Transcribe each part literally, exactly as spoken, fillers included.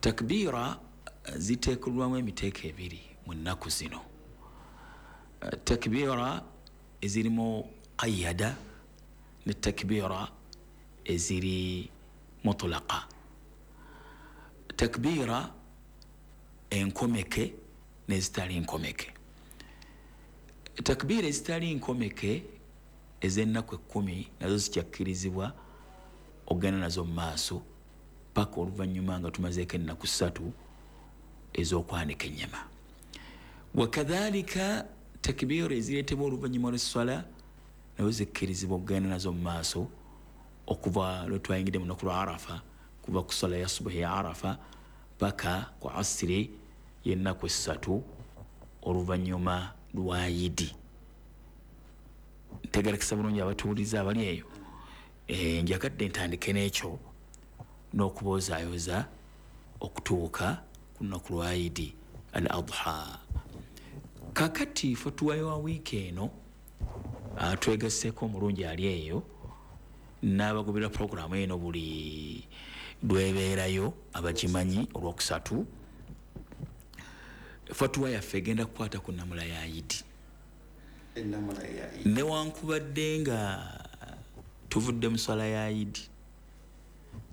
Takbira ziteekulwamu emiteeko ebiri mu nnaku zino. Takbira ezirimu qayyada ne takbira eziri mutlaqa. Takbira enkomeke n'ezitali nkomeke. Takbira ezitali nkomeke ez'ennaku ekkumi nazo zikyakkirizibwa okugenda nazo mu maaso paka oluvannyuma nga tumazeeko ennaku ssatu ez'okwanika ennyama. Wakadhalika takbira ezireetebwa oluvannyuma lw'esswala nazo zikkirizibwa okugenda nazo mu maaso okuva lwe twayingidde mu lunaku lwa Arafa, kuva ku swala ya subuhi ya Arafa paka ku asiri y'ennaku essatu oluvannyuma lwa Yidi. Ntegerekesa bulungi abatuwuliza abali eyo. E, njagadde ntandike n'ekyo n'okubozaayoza okutuuka ku lunaku lwa Idi al Adha. Kakati fatuwa ya wiiki eno twegasseeko omulungi ali eyo n'abagobera puroguramu eno buli lwebeerayo abagimanyi olwokusatu. Fatuwa yaffe egenda kukwata ku nnamula ya Idi. Newankubadde nga tuvudde mu swala ya Idi,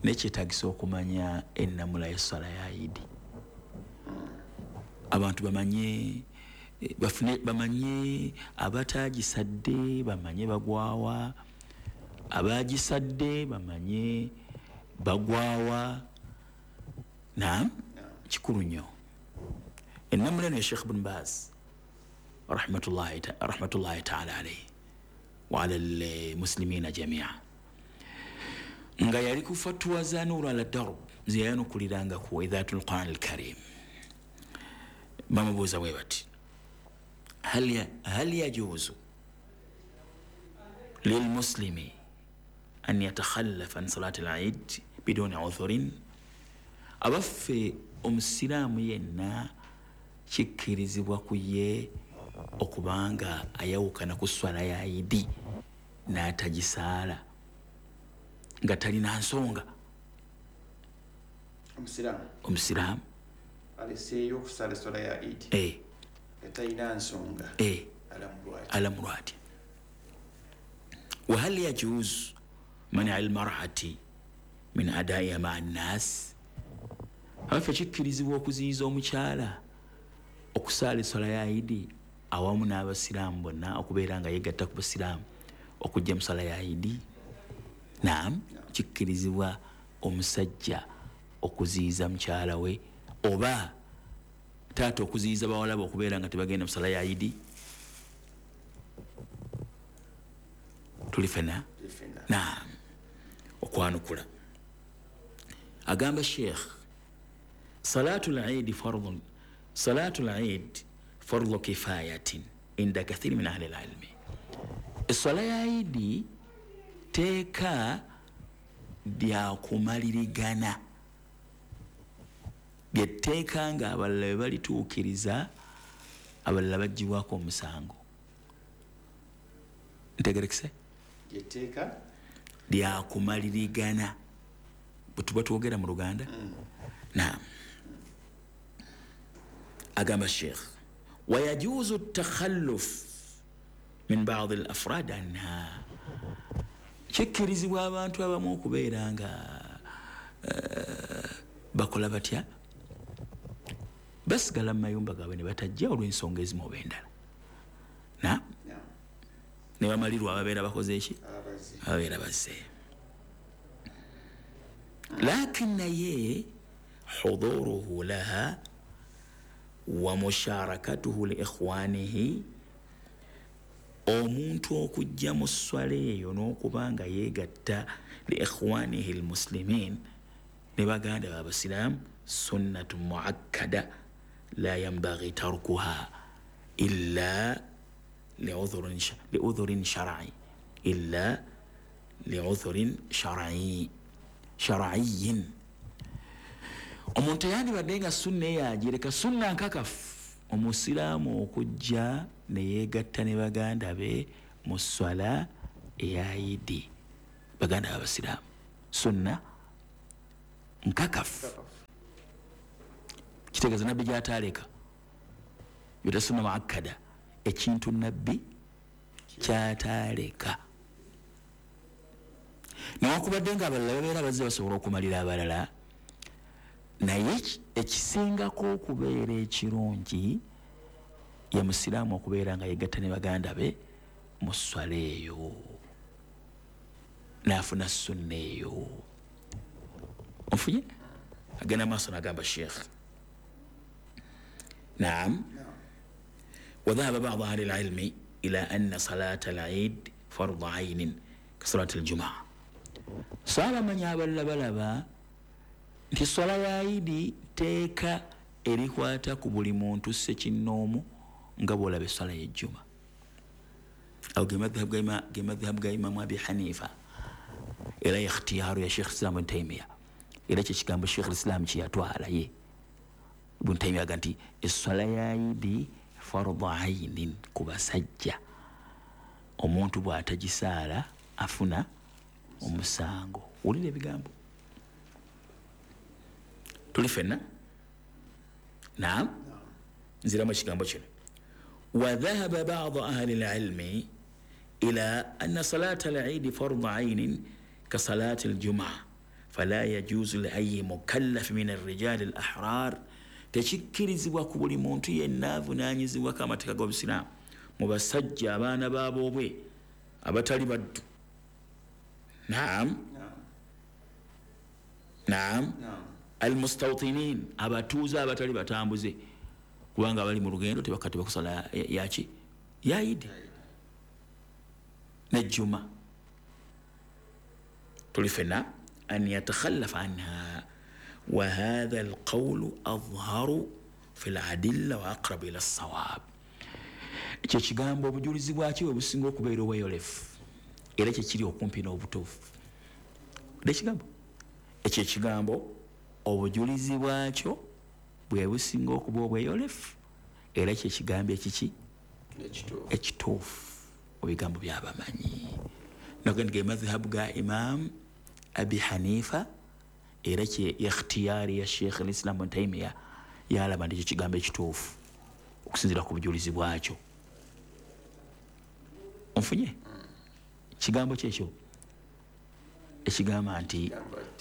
nekyetaagisa okumanya ennamula y'esswala ya Idi. Abantu bamanye bafune bamanye abataagisadde bamanye bagwawa, abagisadde bamanye bagwawa. Naam, kikulu nnyo. Ennamula eno ya Sheikh Ibn Baz rahmatullahi rahmatullahi ta'ala alayhi wa ala al-muslimina jamia, nga yali ku fatwa za Nur ala Darb zeyanukuliranga ku Idhatul Quran al-Karim. Bamubuuza bwe bati, hal hal yajuzu lilmuslimi an yatakhallaf an salati al-Eid biduni udhurin? Abaffe omusiraamu yenna kikkirizibwa ku ye okubanga ayawukana ku swala ya Idi n'atagisaala nga talina nsonga? Omusiraamu omusiraamu aleseeyo okusala eswala ya Idi eh talina nsonga eh alamulwa atya? Wa hal yajuz man'a al-mar'ati min adaiha ma'a an-nas? Abaffe kikkirizibwa okuziyiza omukyala okusaala eswala ya Idi awamu n'abasiraamu bonna, okubeera nga yeegatta ku basiraamu okujja mu swala ya Idi? Naam, kikkirizibwa omusajja okuziyiza mukyala we oba taata okuziyiza bawala be okubeera nga tebagenda mu swala ya Idi? Tuli ffenna? Naam. Okwanukula agamba Sheikh, salatul Eid fardun salatul Eid fardu kifayatin inda kathiri min ahli al-ilmi. Eswala ya Idi teeka lya kumalirigana, lyetteeka nga abalala bwe balituukiriza abalala baggyibwako omusango. Ntegerekese? Lyetteeka lya kumalirigana bwe tuba twogera mu Luganda. Mm. Naam. Agamba Sheikh, wayajuzu at-takhalluf min ba'd al-afrad anha. Kikkirizibwa abantu abamu okubeera nga uh, bakola batya, basigala mu mayumba gaabwe ne batajja olw'ensonga ezimu oba endala, na ne bamalirwa ababeera bakoze eki ababeera bazze. Lakin naye huduruhu laha wa musharakatuhu li ikhwanihi, omuntu okujja mu swala eyo n'okuba nga yeegatta li ikhwanihi almuslimin, ne baganda b'abasiraamu, sunnatu muakkada la yanbaghi tarkuha illa liudhurin shar'i illa liudhurin shar'i shar'iyyin. Omuntu yandibadde nga sunna eyo agireka, sunna nkakafu omusiraamu okujja ne yeegatta ne baganda be mu swala eya Idi, baganda b'abasiraamu, sunna nkakafu. Kitegeeza nabbi gyataleka yota sunna muakkada, ekintu nabbi kyataleka. Newankubadde nga abalala babeera bazze basobola okumalira abalala, naye ekisingako okubeera ekirungi ye musiraamu okubeera nga yegatta ne baganda be mu sswala eyo n'afuna sunna eyo. Onfunye? Agenda maaso n'agamba Sheikh, naam, wadhahaba ba'du ahli al-ilmi ila anna salata al-eid fardu aynin ka salati al-jumaa. So abamanyi abalala balaba nti swala ya Idi teeka erikwata ku buli muntu ssekinnoomu nga bw'olaba esswala y'ejjuma. Awo ge madhhabu ga Imamu Abi Hanifa, era ikhtiyaaru ya Sheikh Islam Ibn Taymiya, era kye kigambo Sheikh Islam kye yatwala ye Ibn Taymiya aga nti esswala ya Idi fardu aynin ku basajja, omuntu bw'atagisaala afuna omusango. Wulira ebigambo, tuli ffenna? Naam, nziramu ekigambo kino. Wadhahaba ba'du ahli al-ilmi ila anna salata al-eid fardu aynin ka salati al-jumaa fala yajuzu li ayyi mukallaf min ar-rijal al-ahrar. Tekikkirizibwa ku buli muntu yenna avunaanyizibwako amateeka g'obusiraamu mu basajja abaana baboobwe abatali baddu. Naam, naam, almustawtinin, abatuuze abatali batambuze, kubanga abali mu lugendo tebakati bakusala yaki ya Idi nejjuma. Tuli ffenna? An yatakhallafa anha wa hadha alqawlu adharu fi aladilla wa aqrabu ila assawab. Ekyo ekigambo obujulizi bwakyo bwe businga okubeera obweyolefu, era kyekiri okumpi n'obutuufu. Ekigambo ekyo ekigambo obujulizi bwakyo bwe businga okuba obweyolefu, era kyekigambo ekiki ekituufu mu bigambo by'abamanyi. Nagandi ge madhhabu ga Imam Abi Hanifa, era kye ikhtiyari ya Sheikh al-Islam Ibn Taymiya, yalaba nti ekigambo ekituufu okusinziira ku bujulizi bwakyo. Onfunye? Kigambo kyekyo ekigamba nti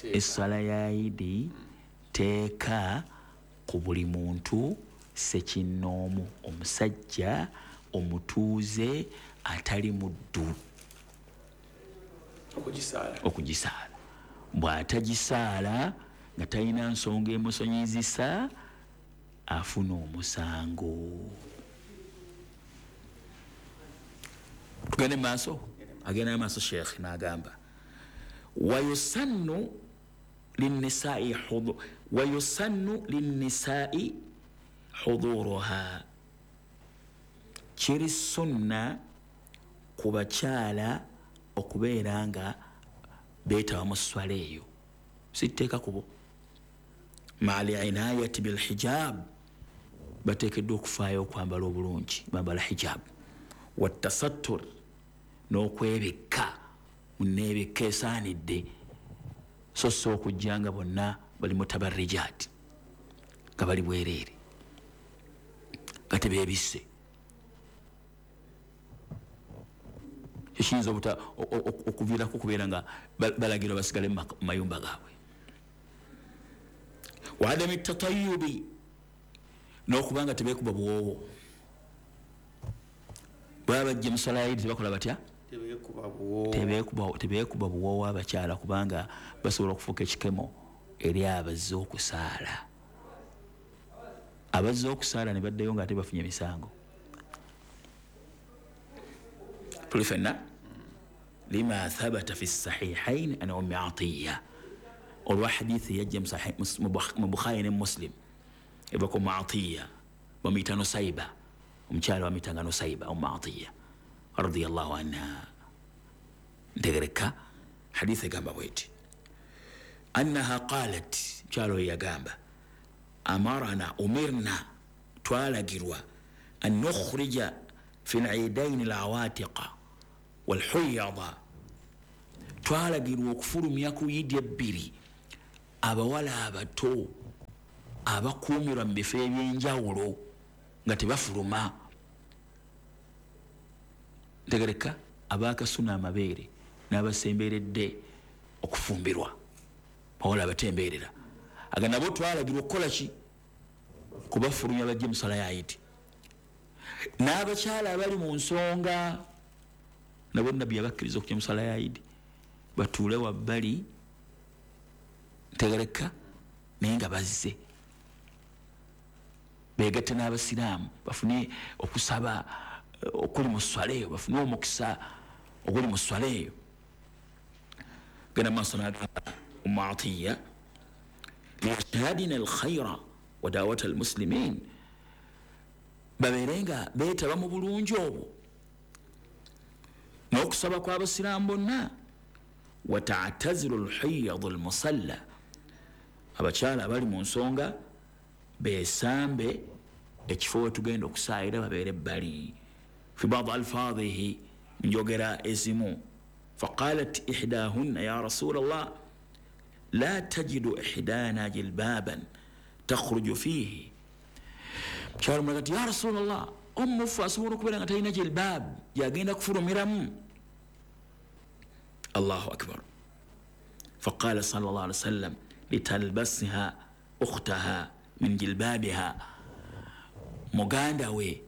esswala ya Idi teeka ku buli muntu ssekinnoomu, omusajja omutuuze atali muddu okugisaala. Bw'atagisaala nga talina nsonga emusonyizisa afuna omusango. Tugende maaso. Agenda maaso Sheikh n'agamba wayusannu linnisaa'i hudu wayusannu linnisaa'i huduruha. Kiri sunna ku bakyala okubeera nga beetaba mu sswala eyo, sitteeka kubo. Ma'a al-inayati bil-hijab, bateekeddwa okufaayo okwambala obulungi, bambala hijab, wattasattur, n'okwebikka muneebikka esaanidde, so si okujja nga bonna bali mutabarrijaati nga bali bwereere nga tebeebisse. Ekiyinza okuviirako okubeera nga balagirwa basigale mu mayumba gaabwe. Wa adami tatayubi, n'okuba nga tebeekuba buwoowo. Baba bajja mu sswala ya Idi tebakola batya? Tebeekuba buwoowo abakyala, kubanga basobola okufuuka ekikemo eri abazze okusaala. Abazze okusaala ne baddayo nga ate bafunye emisango. Tuli ffenna? Lima thabata fi sahihain an Ummi Atiya, olwa hadithi yajja mu Bukhari ne Muslim eva ku Ummu Atiya, bamuyita Nusaiba, omukyala bamuyitanga Nusaiba Ummu Atiya radiyallahu anha. Ntegereka hadithi egamba bweti, annaha qalat, mukyala oyo yagamba, amarana umirna, twalagirwa an nukhrija fi al-eidain al-awatiqa wal-huyada, twalagirwa okufulumya ku Idi ebbiri abawala abato abakuumirwa mu bifo ebyenjawulo nga tebafuluma. Ntegereka abakasuna amabeere n'abasemberedde okufumbirwa, bawala abatembeerera, aga nabo twalagirwa okukola ki? Kubafulumya bajje mu sala ya Idi. N'abakyala abali mu nsonga nabo Nabbi yabakkiriza okujja mu sala ya Idi, batuule wabbali, ntegereka, naye nga bazze beegatte n'abasiraamu bafune okusaba okuli mu swala eyo, bafune omukisa oguli mu swala eyo. Genda maaso n'agamba Ummu Atiya, liyashhadina alkhaira wa dawata almuslimin, babeere nga beetaba mu bulungi obwo n'okusaba kw'abasiraamu bonna. Watataziru alhiyadu almusalla, abakyala abali mu nsonga beesambe ekifo we tugenda okusaayira, babeere ebbali. Fi badi alfaadhihi, njogera ezimu, faqalat ihdahunna ya rasula llah la tajidu ihdana jilbaban takhruju fihi. Mukyala omulala ti ya rasula llah, omufu asobola okubeera nga talina jilbab yagenda kufulumiramu. Allahu akbar. Faqala sallallahu alaihi wasallam litalbasha ukhtaha min jilbabiha, muganda we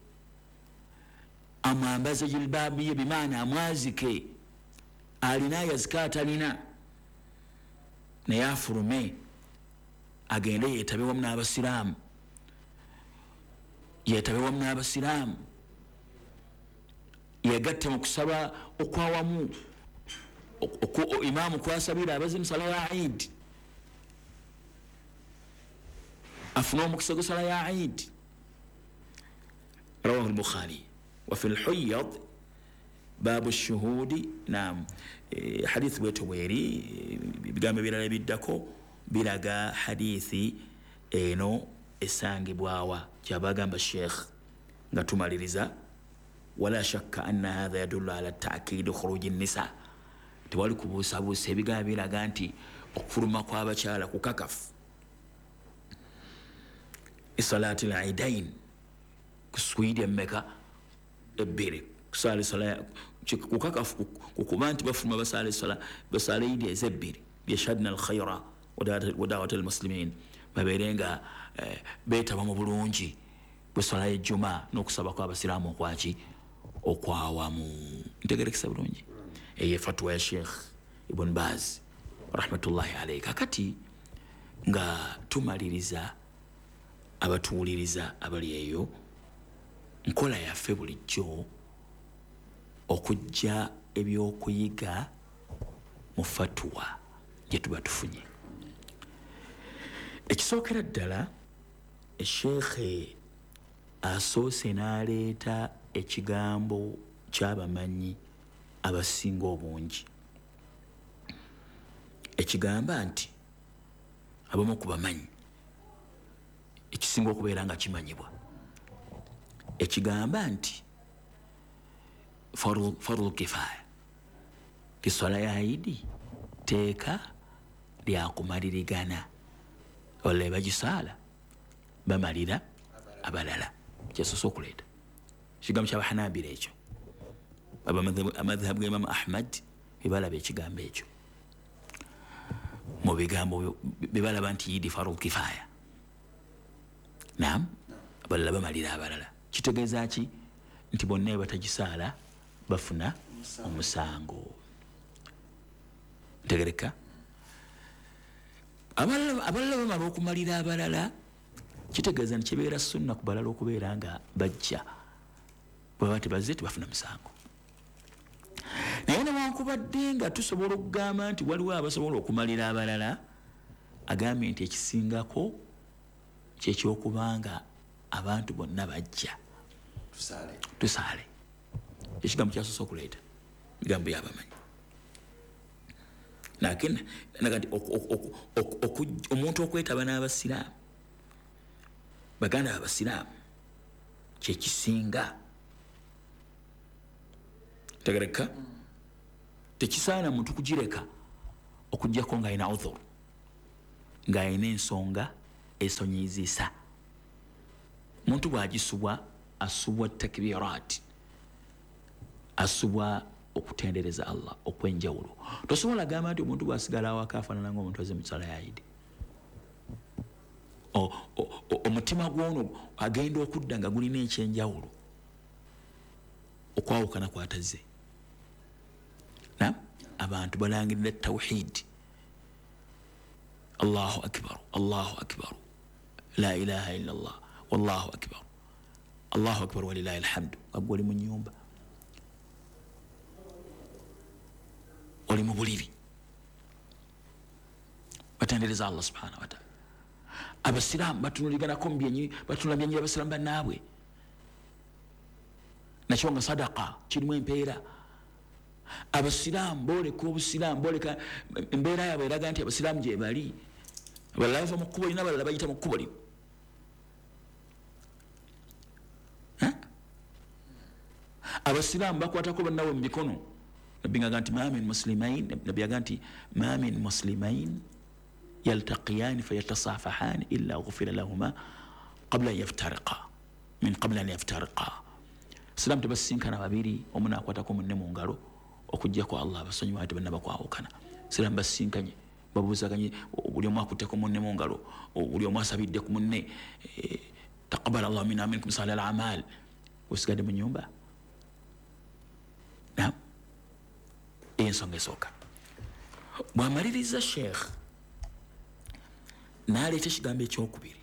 amwambaze jilbabu ye, bimaana amwazike, alina yazika atalina, naye afulume agende yeetabe wamu n'abasiraamu, yeetabe wamu n'abasiraamu, yegatte mu kusaba okwawamu imaamu kwasabira abaze mu sala ya Idi, afune omukisa gw'essala ya Idi. Rawahu al-Bukhari. Wa fi al-Huyyad babu shuhudi. Naam, hadithi bwetu bweri, ebigambo ebirala ebiddako biraga hadithi eno esangibwawa. Kyabagamba Sheikh nga tumaliriza, wala shakka anna hadha yadullu ala ta'kid khuruj an-nisa, tewali kubuusabuusa ebigambo biraga nti okufuluma kw'abakyala kukakafu. Isalati al-idain, kuswidi emmeka ebbiri, kusaala sala kukakafu kukuba nti bafuluma basaala sala basaala idi ezebbiri, yashhadna al-khayra wa da'wat al-muslimin, babeere nga beetaba mu bulungi bw'esswala y'ejjuma n'okusaba kw'abasiraamu okwaki okwawamu. Ntegerekesa bulungi eyo fatwa ya Sheikh Ibn Baz rahmatullahi alayhi. Kakati nga tumaliriza abatuwuliriza abali eyo, nkola yaffe bulijjo okujja ebyokuyiga mu fatwa gye tuba tufunye. Ekisookera ddala, Sheikh asoose n'aleeta ekigambo ky'abamanyi abasinga obungi, ekigamba nti abamu ku bamanyi ekisinga okubeera nga kimanyibwa, ekigamba nti fardu kifaya, kiswala ya Idi teeka lyakumalirigana, abalala bagisaala bamalira abalala. Kyasoose okuleeta ekigambo ky'abahanabira ekyo, amadhhabu ga Imamu Ahmad bebalaba ekigambo ekyo mu bigambo bebalaba nti Idi fardu kifaya. Naam, abalala bamalira abalala. Kitegeeza ki? Nti bonna batagisaala bafuna omusango. Ntegereka abalala abalala bamala okumalira abalala, kitegeeza nti kibeera sunna ku balala okubeera nga bajja, bwebaba tebazze tebafuna musango. Naye newankubadde nga tusobola okugamba nti waliwo abasobola okumalira abalala, agambye nti ekisingako kyekyokubanga abantu bonna bajja tusaale tusaale. Ekigambo kyasoose okuleeta bigambo byabamanyi. Lakini nagati omuntu okwetaba n'abasiraamu, baganda abasiraamu, kyekisinga. Tegereka tekisaana muntu kugireka okuggyako ng'alina udhur, ng'alina ensonga Esonyizisa muntu bw'agisubwa asubwa takbirat, asubwa okutendereza Allah okwenjawulo. Tosobola gamba nti omuntu bw'asigala awaka afaanana ng'omuntu azze mu sala ya Idi. Omutima gwono agenda okudda nga gulina ekyenjawulo okwawukana kwatazze. Na abantu balangirira tawhid, Allahu akbar, Allahu akbar, la ilaha illa Allah, wallahu akbar, Allahu akbar walillahi alhamdu. Nga oli mu nnyumba, oli mu buliri, batendereza Allah subhanahu wa ta'ala. Abasiraamu batunuliganako mu byenyi, batunula byenyi abasiraamu bannaabwe, nakyo nga sadaka kirimu empeera. Abasiraamu booleka obusiraamu, booleka embeera yaabwe eraga nti abasiraamu gye bali. Abalala bava mu kkubo lino, abalala bayita mu kkubo lino. Abasiraamu bakwatako bannaabwe mu mikono. Nabbi ng'agamba nti ma min muslimain, nabbi agamba nti ma min muslimain yaltaqiyani fayatasafahani illa ghufira lahuma qabla an yaftariqa, min qabla an yaftariqa. Siraamu tebasisinkana babiri, omu n'akwatako munne mu ngalo okuggyako Allah abasonyiwa ate banna bakwawukana. Siraamu basisinkanye, babuuzaganye, buli omu akutteko munne mu ngalo, buli omu asabidde ku munne, taqabbala Allahu minna wa minkum salihal a'mal. Osigadde mu nnyumba. Naam, ensonga esooka. Bw'amaliriza Sheikh n'aleeta ekigambo ekyokubiri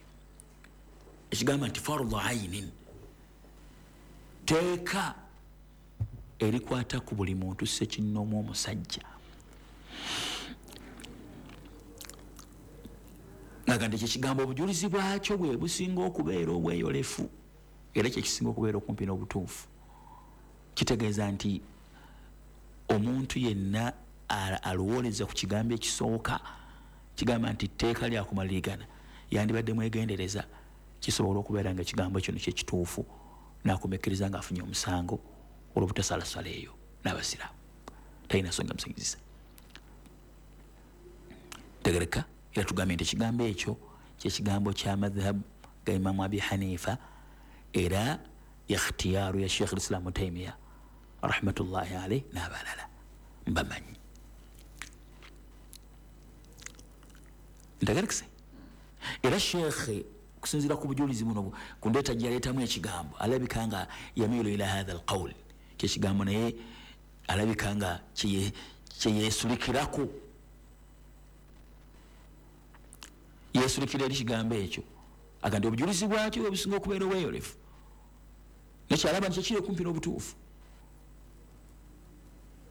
ekigamba nti fardu ainin, teeka erikwata ku buli muntu ssekinnoomu omusajja. Nga nti ekyo ekigambo obujulizi bwakyo bwe businga okubeera obweyolefu era kyekisinga okubeera okumpi n'obutuufu. Kitegeeza nti omuntu yenna alowooleza ku kigambo ekisooka kigamba nti tteeka lyakumalirigana, yandibadde mwegendereza kisobola okubeera nga ekigambo kino kyekituufu, n'akumekkiriza ng'afunye omusango olw'obutasalasala eyo n'abasiraamu. Talina nsonga musingizisa. Tegereka era tugambye nti ekigambo ekyo kyekigambo kya madhhabu ga Imamu Abi Hanifa, era ikhtiyaaru ya Sheikh Islam Taimiya rahmatullahi alayhi n'abalala mbamanyi. Ntegerekese era Sheikh okusinziira ku bujulizi buno ku ndeeta gyaleetamu ekigambo alabika nga yamiilu ila hatha alqawl, kyekigambo naye alabika nga kyeyeesulikirako, yeesulikira eri kigambo ekyo, aga nti obujulizi bwakyo bwe businga okubeera obweyolefu, nekyalaba nti kyekiri okumpi n'obutuufu.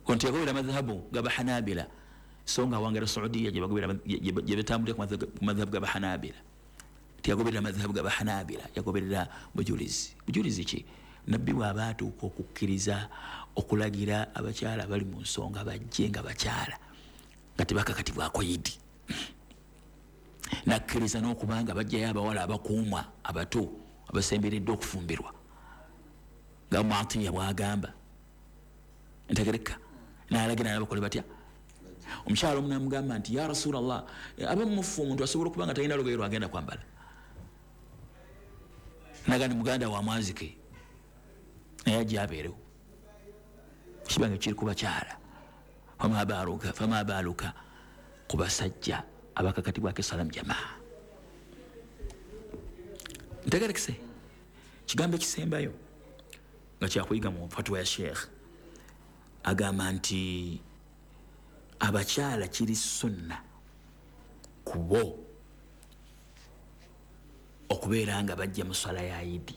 Nti yagoberera madhahabu g'Abahanabila, so nga awangala Saudiya gye batambulira ku madhahabu g'Abahanabila. Tiyagoberera madhahabu g'Abahanabila, yagoberera bujulizi. Bujulizi ki? Nabbi bw'aba atuuka okukkiriza okulagira abakyala abali mu nsonga bajje nga bakyala nga tebakakatibwako Idi, nakkiriza n'okubanga bajjayo abawala abakuumwa abato abasemberedde okufumbirwa nga Muatiya bw'agamba. Ntegereka n'alagira n'abakole batya. Omukyala omu n'amugamba nti ya Rasulallah, abamufu omuntu asobola okuba nga talina lugoye lwagenda kwambala. Naga nti muganda wa mwazike naye ajja abeerewo, kibanga kiri ku bakyala. Fama fama baaluka ku basajja abakakatibwako esalamu jamaa. Ntegerekese kigambo ekisembayo nga kyakuyiga mu fatwa ya Sheikh agamba nti abakyala kiri sunna kubo okubeera nga bajja mu swala ya Idi.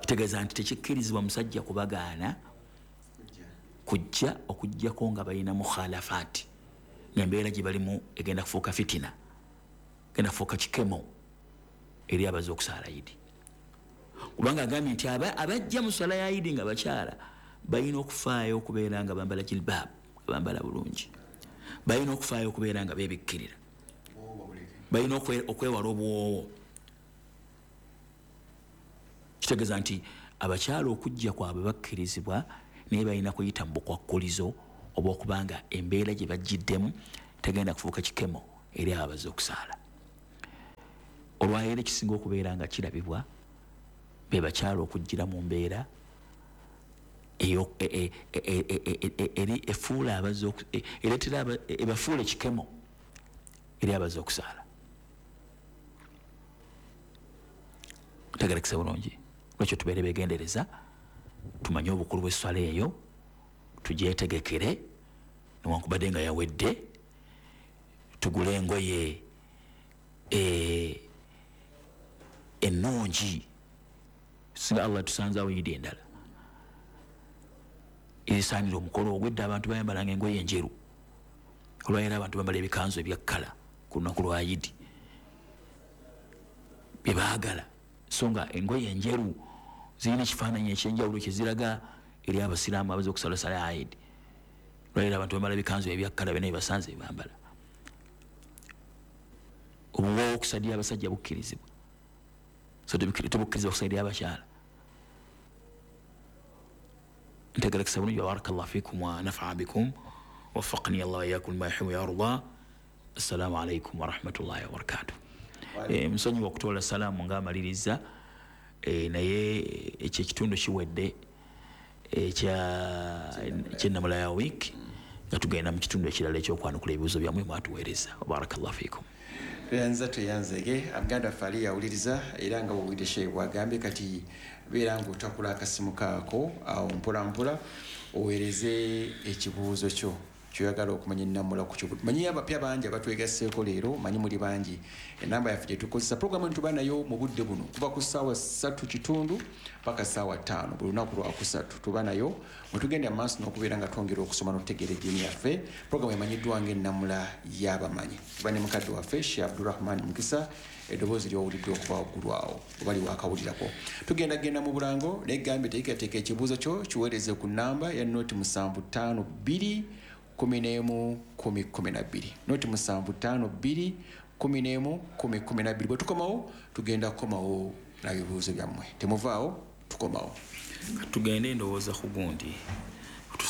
Kitegeeza nti tekikkirizibwa musajja kubagaana kujja okuggyako nga balina mukhalafaati, ng'embeera gye balimu egenda kufuuka fitina, egenda kufuuka kikemo eri abaze okusaala Idi. Kubanga agambye nti abajja mu swala ya Idi nga bakyala balina okufaayo okubeera nga bambala jilbaab, nga bambala bulungi, balina okufaayo okubeera nga beebikkirira, balina okwewala obuwoowo. Kitegeeza nti abakyala okujja kwabwe bakkirizibwa, naye balina kuyita mu bukwakkulizo oba okubanga embeera gye bajjiddemu tegenda kufuuka kikemo eri abaze okusaala. Olwaleero ekisinga okubeera nga kirabibwa be bakyala okujjira mu mbeera eri efuula abazze ereetera ebafuula ekikemo eri abazze okusaala. Ntegerekesa bulungi. Lwekyo tubeere beegendereza, tumanye obukulu bw'esswala eyo, tugyetegekere newankubadde nga yawedde, tugule engoye ennungi singa Allah tusanzaawo yidi endala esaanira omukolo ogwedda. Abantu bayambalanga engoye enjeru, olwaleero abantu bambala ebikanzu ebyakkala ku lunaku lwa Yidi bye baagala, so nga engoye enjeru zirina ekifaananyi ekyenjawulo kyeziraga eri abasiraamu abaze okusala sala ya Yidi. Olwaleero abantu bambala ebikanzu ebyakkala byonna bye basanze bambala. Obuwoowo okusadira abasajja bukkirizibwa, so tebukkirizibwa okusadira abakyala. Ntegerekesa bulungi. Barakallahu fikum wa nafaa bikum waffaqani Allah wa iyyakum lima yuhibbu wa yarda. Assalamu alaikum warahmatullahi wabarakatuh. Nsonyiwa okutoola salaamu ng'amaliriza, naye ekyo ekitundu kiwedde ekyennamula ya wiiki, nga tugenda mu kitundu ekirala ekyokwanukula ebibuuzo byammwe mwatuweereza. Barakallahu fikum. Tweyanza tweyanzege muganda waffe ali yawuliriza era nga bwowulidde Sheikh bw'agambye, kati beera ng'otakula akasimu kaako awo mpola mpola oweereze ekibuuzo kyo kyoyagala okumanya ennamula ku kyo. Manyi abapya bangi abatwegasseeko leero, manyi muli bangi. Enamba yaffe gye tukozesa puroguramu eno tuba nayo mu budde buno kuva ku ssaawa ssatu kitundu paka ssaawa ttaano buli lunaku lwakusatu tuba nayo mwe tugenda mu maaso n'okubeera nga twongera okusoma n'okutegeera eddiini yaffe. Puroguramu emanyiddwa ng'ennamula y'abamanyi. Tuba ne mukadde waffe Sheikh Abdurrahman Mukisa, eddoboozi ly'owulidde okuva waggulu awo oba liwaakawulirako. Tugenda genda mu bulango naye gambye teekateeka ekibuuzo kyo kiweereze ku nnamba ya noti musanvu ttaano bbiri kumi n'emu kumi kumi na bbiri, noti musanvu ttaano bbiri kumi n'emu kumi kumi na bbiri. Bwe tukomawo tugenda kukomawo na bibuuzo byammwe, temuvaawo, tukomawo. Tugende ndowooza ku gundi.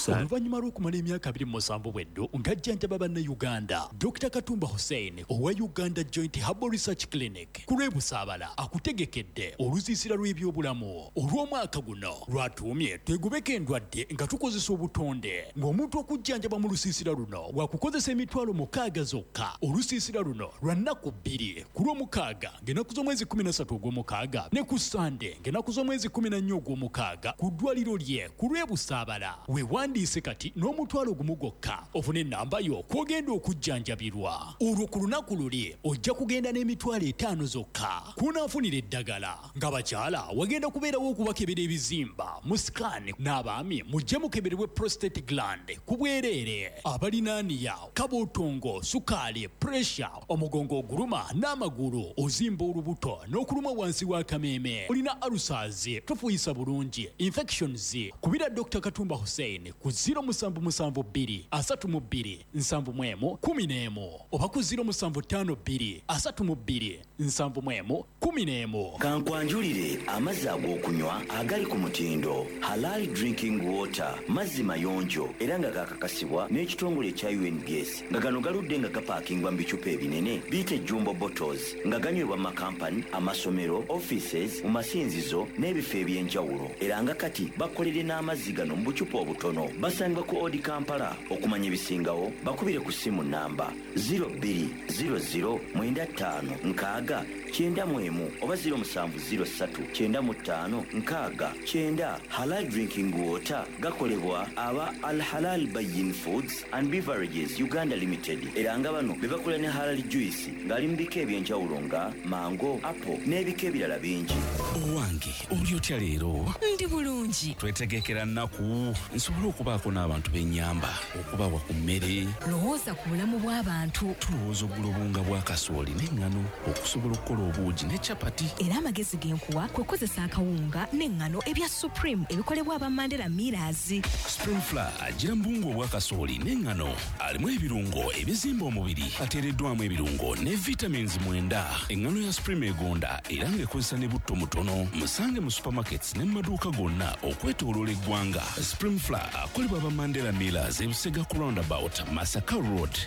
Oluvannyuma lw'okumala emyaka abiri mu musanvu bweddo ng'ajjanjaba bannayuganda, Dokita Katumba Hussein owa Uganda Joint Herbal Research Clinic ku lw'e Busaabala akutegekedde olusiisira lw'ebyobulamu olw'omwaka guno lwatuumye twegobeko endwadde nga tukozesa obutonde. Ng'omuntu okujjanjaba mu lusiisira luno wakukozesa emitwalo mukaaga zokka. Olusiisira luno lwa nnaku bbiri, ku lw'omukaaga ng'ennaku z'omwezi kkumi na ssatu ogw'omukaaga ne ku Sande ng'ennaku z'omwezi kkumi na nnya ogw'omukaaga ku ddwaliro lye ku lw'e Busaabala. Weewandiise kati n'omutwalo gumu gwokka ofune ennamba yo kw'ogenda okujjanjabirwa. Olwo ku lunaku luli ojja kugenda n'emitwalo etaano zokka kw'onaafunira eddagala. Ng'abakyala wagenda kubeerawo okubakebera ebizimba mu scan, n'abaami mujje mukeberebwe prostate gland ku bwereere. Abalinaaniya, kabootongo, sukaali, pressure, omugongo oguluma n'amagulu, ozimba olubuto n'okuluma wansi w'akameeme, olina ulcers, tofuuyisa bulungi, infections, kubira Dokita Katumba Hussein ku ziro musanvu musanvu bbiri asatu mu bbiri nsanvu mu emu kumi n'emu oba ku ziro musanvu ttaano bbiri asatu mu bbiri nsanvu mu emu kumi n'emu. Kankwanjulire amazzi ag'okunywa agali ku mutindo Halal Drinking Water, mazzi mayonjo era nga gakakasibwa n'ekitongole ekya U N B S, nga gano galudde nga gapaakingwa mu bicupa ebinene biyite jumbo bottles, nga ganywebwa mu makampani, amasomero, offices, mu masinzizo n'ebifo eby'enjawulo, era nga kati bakolere n'amazzi gano mu bucupa obutono. Basangibwa ku Odi Kampala. Okumanya ebisingawo bakubire ku ssimu namba ziro bbiri ziro ziro mwenda ttaano nkaaga kyenda mu emu oba ziro musanvu ziro ssatu kyenda mu ttaano nkaaga kyenda. Halal Drinking Water gakolebwa aba Al Halal Bayin Foods and Beverages Uganda Limited, era nga bano be bakola ne halal juice ng'ali mu bika eby'enjawulo nga mango, apple n'ebika ebirala bingi. Owange oli otya leero? Ndi bulungi. Twetegekera nnaku nsobole okubaako n'abantu b'ennyamba okubawa ku mmere. Lowooza ku bulamu bw'abantu. Tulowooza ogula obuwunga bwa kasooli n'eŋŋano okusobola okukola obuugi ne chapati. Era amagezi ge nkuwa kwe kukozesa akawunga n'eŋŋano ebya Supreme ebikolebwa aba Mandela Millers. Supreme Flour agira mu buwunga obwa kasooli n'eŋŋano, alimu ebirungo ebizimba omubiri, ateereddwamu ebirungo ne vitamins mwenda. Eŋŋano ya Supreme egonda era ng'ekozesa ne butto mutono. Musange mu supermarkets ne mu maduuka gonna okwetooloola eggwanga. Supreme Flour akolebwa aba Mandela Millers e Busega ku roundabout, Masaka Road.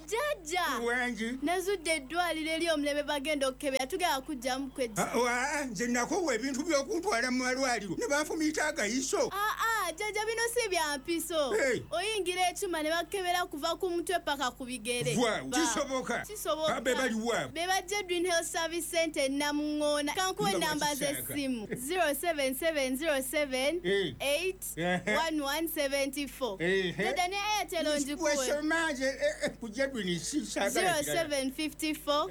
Dad, Jjajja wangi nazudde eddwaliro ery'omulembe bagenda okukebera tugenda kujjamu kwejja. Nze nakowa ebintu by'okuntwala mu malwaliro ne banfumiita agayiso. Aa jjajja bino si bya mpiso. Oyingira ekyuma ne bakebera kuva ku mutwe paka ku bigere. Kisoboka kisoboka. Be baliwa be bajja Green Health Service Center Namungoona. Kankuwe namba z'essimu zero seven seven zero seven eight one one seven four. Jjajja ne Airtel ngikuwe. Wesoma kujja Green zero seven five four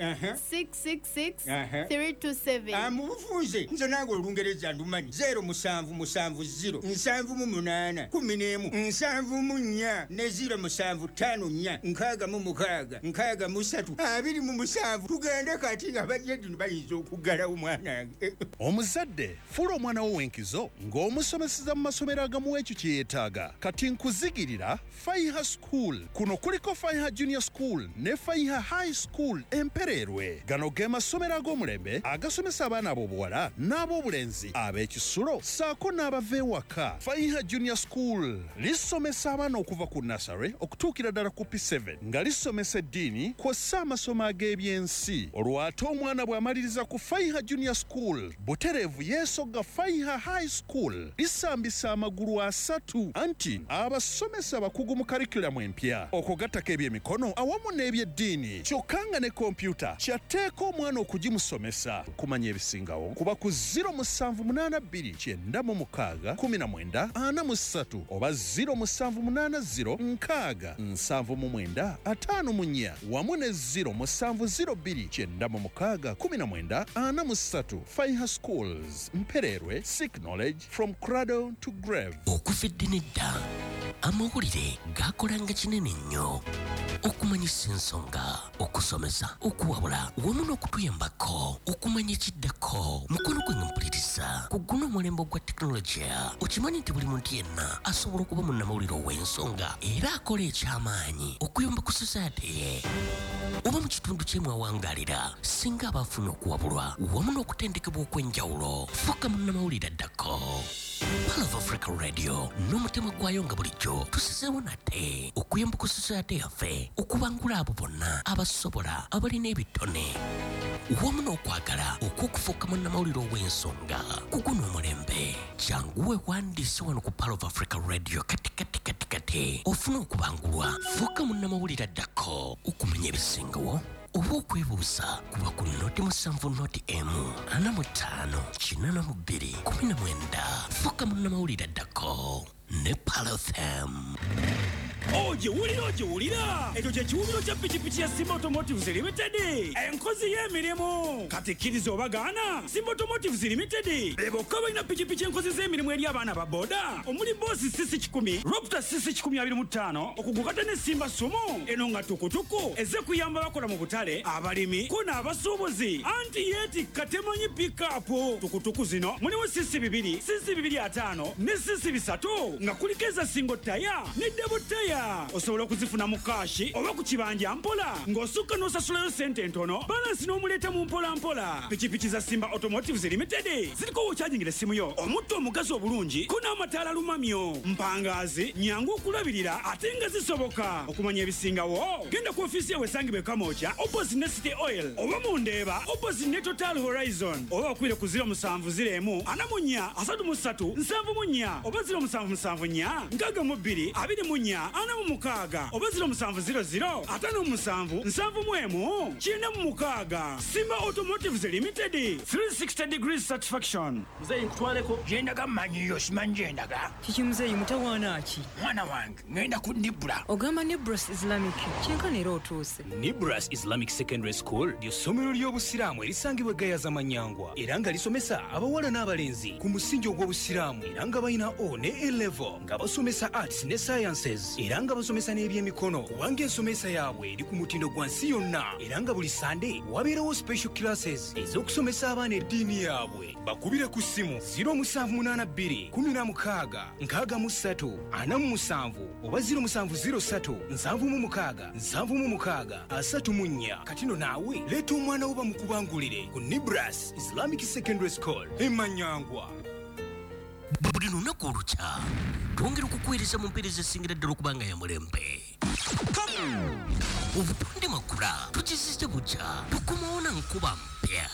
six six six three two seven. Mu bufunze nze nange olungereza ndumanyi zero musanvu musanvu zero nsanvu mu munaana kumi n'emu nsanvu mu nnya ne zero musanvu ttaano nnya nkaaga mu mukaaga nkaaga mu ssatu abiri mu musanvu. Tugende kati abajja bayinza okuggalawo mwanange. Omuzadde fuula omwana wo w'enkizo ng'omusomeseza mu masomero agamuwa ekyo kye yeetaaga. Kati nkuzigirira Faiha School. Kuno kuliko Faiha Junior School ne Faiha High School Empererwe. Gano ge masomero ag'omulembe agasomesa abaana ab'obuwala n'ab'obulenzi ab'ekisulo ssaako n'abava ewaka. Faiha Junior School lisomesa abaana okuva ku nursery okutuukira ddala ku P seven nga lisomesa eddiini kw'ossa amasomo ag'ebyensi. Olwo ate omwana bw'amaliriza ku Faiha Junior School butereevu yeesogga Faiha High School lisambisa amagulu asatu anti abasomesa abakugu mu curriculum empya okugattako ebyemikono awamu n'ebyeddiini kyokka nga ne kompyuta kyatteeka omwana okugimusomesa. Kumanya ebisingawo kuba ku zero musanvu munaana bbiri kyenda mu mukaaga kumi na mwenda ana mu ssatu oba zero musanvu munaana zero nkaaga nsanvu mu mwenda ataano mu nnya wamu ne zero musanvu zero bbiri kyenda mu mukaaga kumi na mwenda ana mu ssatu. Faiha Schools Mpererwe, seek knowledge from cradle to grave. Okuva edda n'edda amawulire gakolanga kinene nnyo okumanyisa ensonga, okusomesa, okuwabula wamu n'okutuyambako okumanya ekiddako. Mukono gwange mpuliriza ku guno omulembe ogwa tekinologiya okimanyi nti buli muntu yenna asobola okuba munnamawulire ow'ensonga era akola ekyamaanyi okuyamba ku society ye oba mu kitundu kye mwawangalira singa abaafuna okuwabulwa wamu n'okutendekebwa okw'enjawulo. Fuuka munnamawulire addako. Pearl of Africa Radio n'omutima gwayo nga bulijjo tusizeewo nate okuyamba ku society yaffe okubangula abo bonna abasobola abalina ebitone wamu n'okwagala okw'okufuuka munnamawulire ow'ensonga ku guno omulembe. Jangu weewandiise wano ku Pearl of Africa Radio kati kati kati kati ofune okubangulwa. Fuuka munnamawulire addako okumanya ebisingawo oba okwebuuza kuba ku noti musanvu noti emu ana mu ttaano kinaana mu bbiri kumi na mwenda. Fuuka munnamawulire addako ne Pearl F M. Ogiwulira ogiwulira ekyo kye kiwubiro kya pikipiki ya Simba Automotives Limited enkozi y'emirimu. Kati kkiriza obagaana Simba Automotives Limited be bokka balina pikipiki enkozi z'emirimu eri abaana ba boda omuli Boss C C kikumi, Raptor C C kikumi abiri mu ttaano okugukata ne Simba Sumo eno nga tukutuku ezze kuyamba abakola mu butale, abalimi ko n'abasuubuzi anti yeetikka temanyi pikapu. Tukutuku zino mulimu C C bibiri, C C bibiri ataano ne C C bisatu nga kuliko eza single tire ne double tire. Osobola okuzifuna mu kaashi oba ku kibanja mpola ng'osukka n'osasulayo ssente entono balansi n'omuleeta mu mpola mpola. Pikipiki za Simba Automotives Limited ziriko w'okyajingira essimu yo omutto omugazi obulungi ko n'amataala lumamyo mpangaazi nyangu okulabirira ate nga zisoboka. Okumanya ebisingawo genda ku ofiisi yawe esangibwa e Kamwokya opposite ne City Oil oba mu Ndeeba opposite ne Total Horizon oba bakubire ku zero musanvu zero emu ana mu nnya asatu mu ssatu nsanvu mu nnya oba zero musanvu musanvu nnya nkaaga mu bbiri abiri mu nnya ana mu mukaaga oba zero musanvu zero zero ataano mu musanvu nsanvu mu emu kyenda mu mukaaga. Simba Automotives Limited three sixty degrees satisfaction. Muzeeyi nkutwaleko gyendaga mmanyiyo simanyi gyendaga. Kiki muzeeyi mutawaana ki? Mwana wange ŋŋenda ku Nibra. Ogamba Nibras Islamic kyenkana era otuuse. Nibras Islamic Secondary School ly'essomero ly'obusiraamu erisangibwa e Gayaza Manyangwa era nga lisomesa abawala n'abalenzi ku musingi ogw'obusiraamu era nga balina O ne A level nga basomesa arts ne sciences era nga basomesa n'ebyemikono kubanga ensomesa yaabwe eri ku mutindo gwa nsi yonna era nga buli Sande wabeerawo special classes ez'okusomesa abaana eddiini yaabwe. Bakubire ku ssimu zero musanvu munaana bbiri kumi na mukaaga nkaaga mu ssatu ana mu musanvu oba zero musanvu zero ssatu nsanvu mu mukaaga nsanvu mu mukaaga asatu mu nnya. Kati no naawe leeta omwana wo bamukubangulire ku Nibras Islamic Secondary School e Manyangwa. Buli lunaku olukya twongera okukuweereza mu mpeereza esingira ddala okubanga ya mulembe. Obutonde Makula tukizizza bukya, tukomawo na nkuba mpya.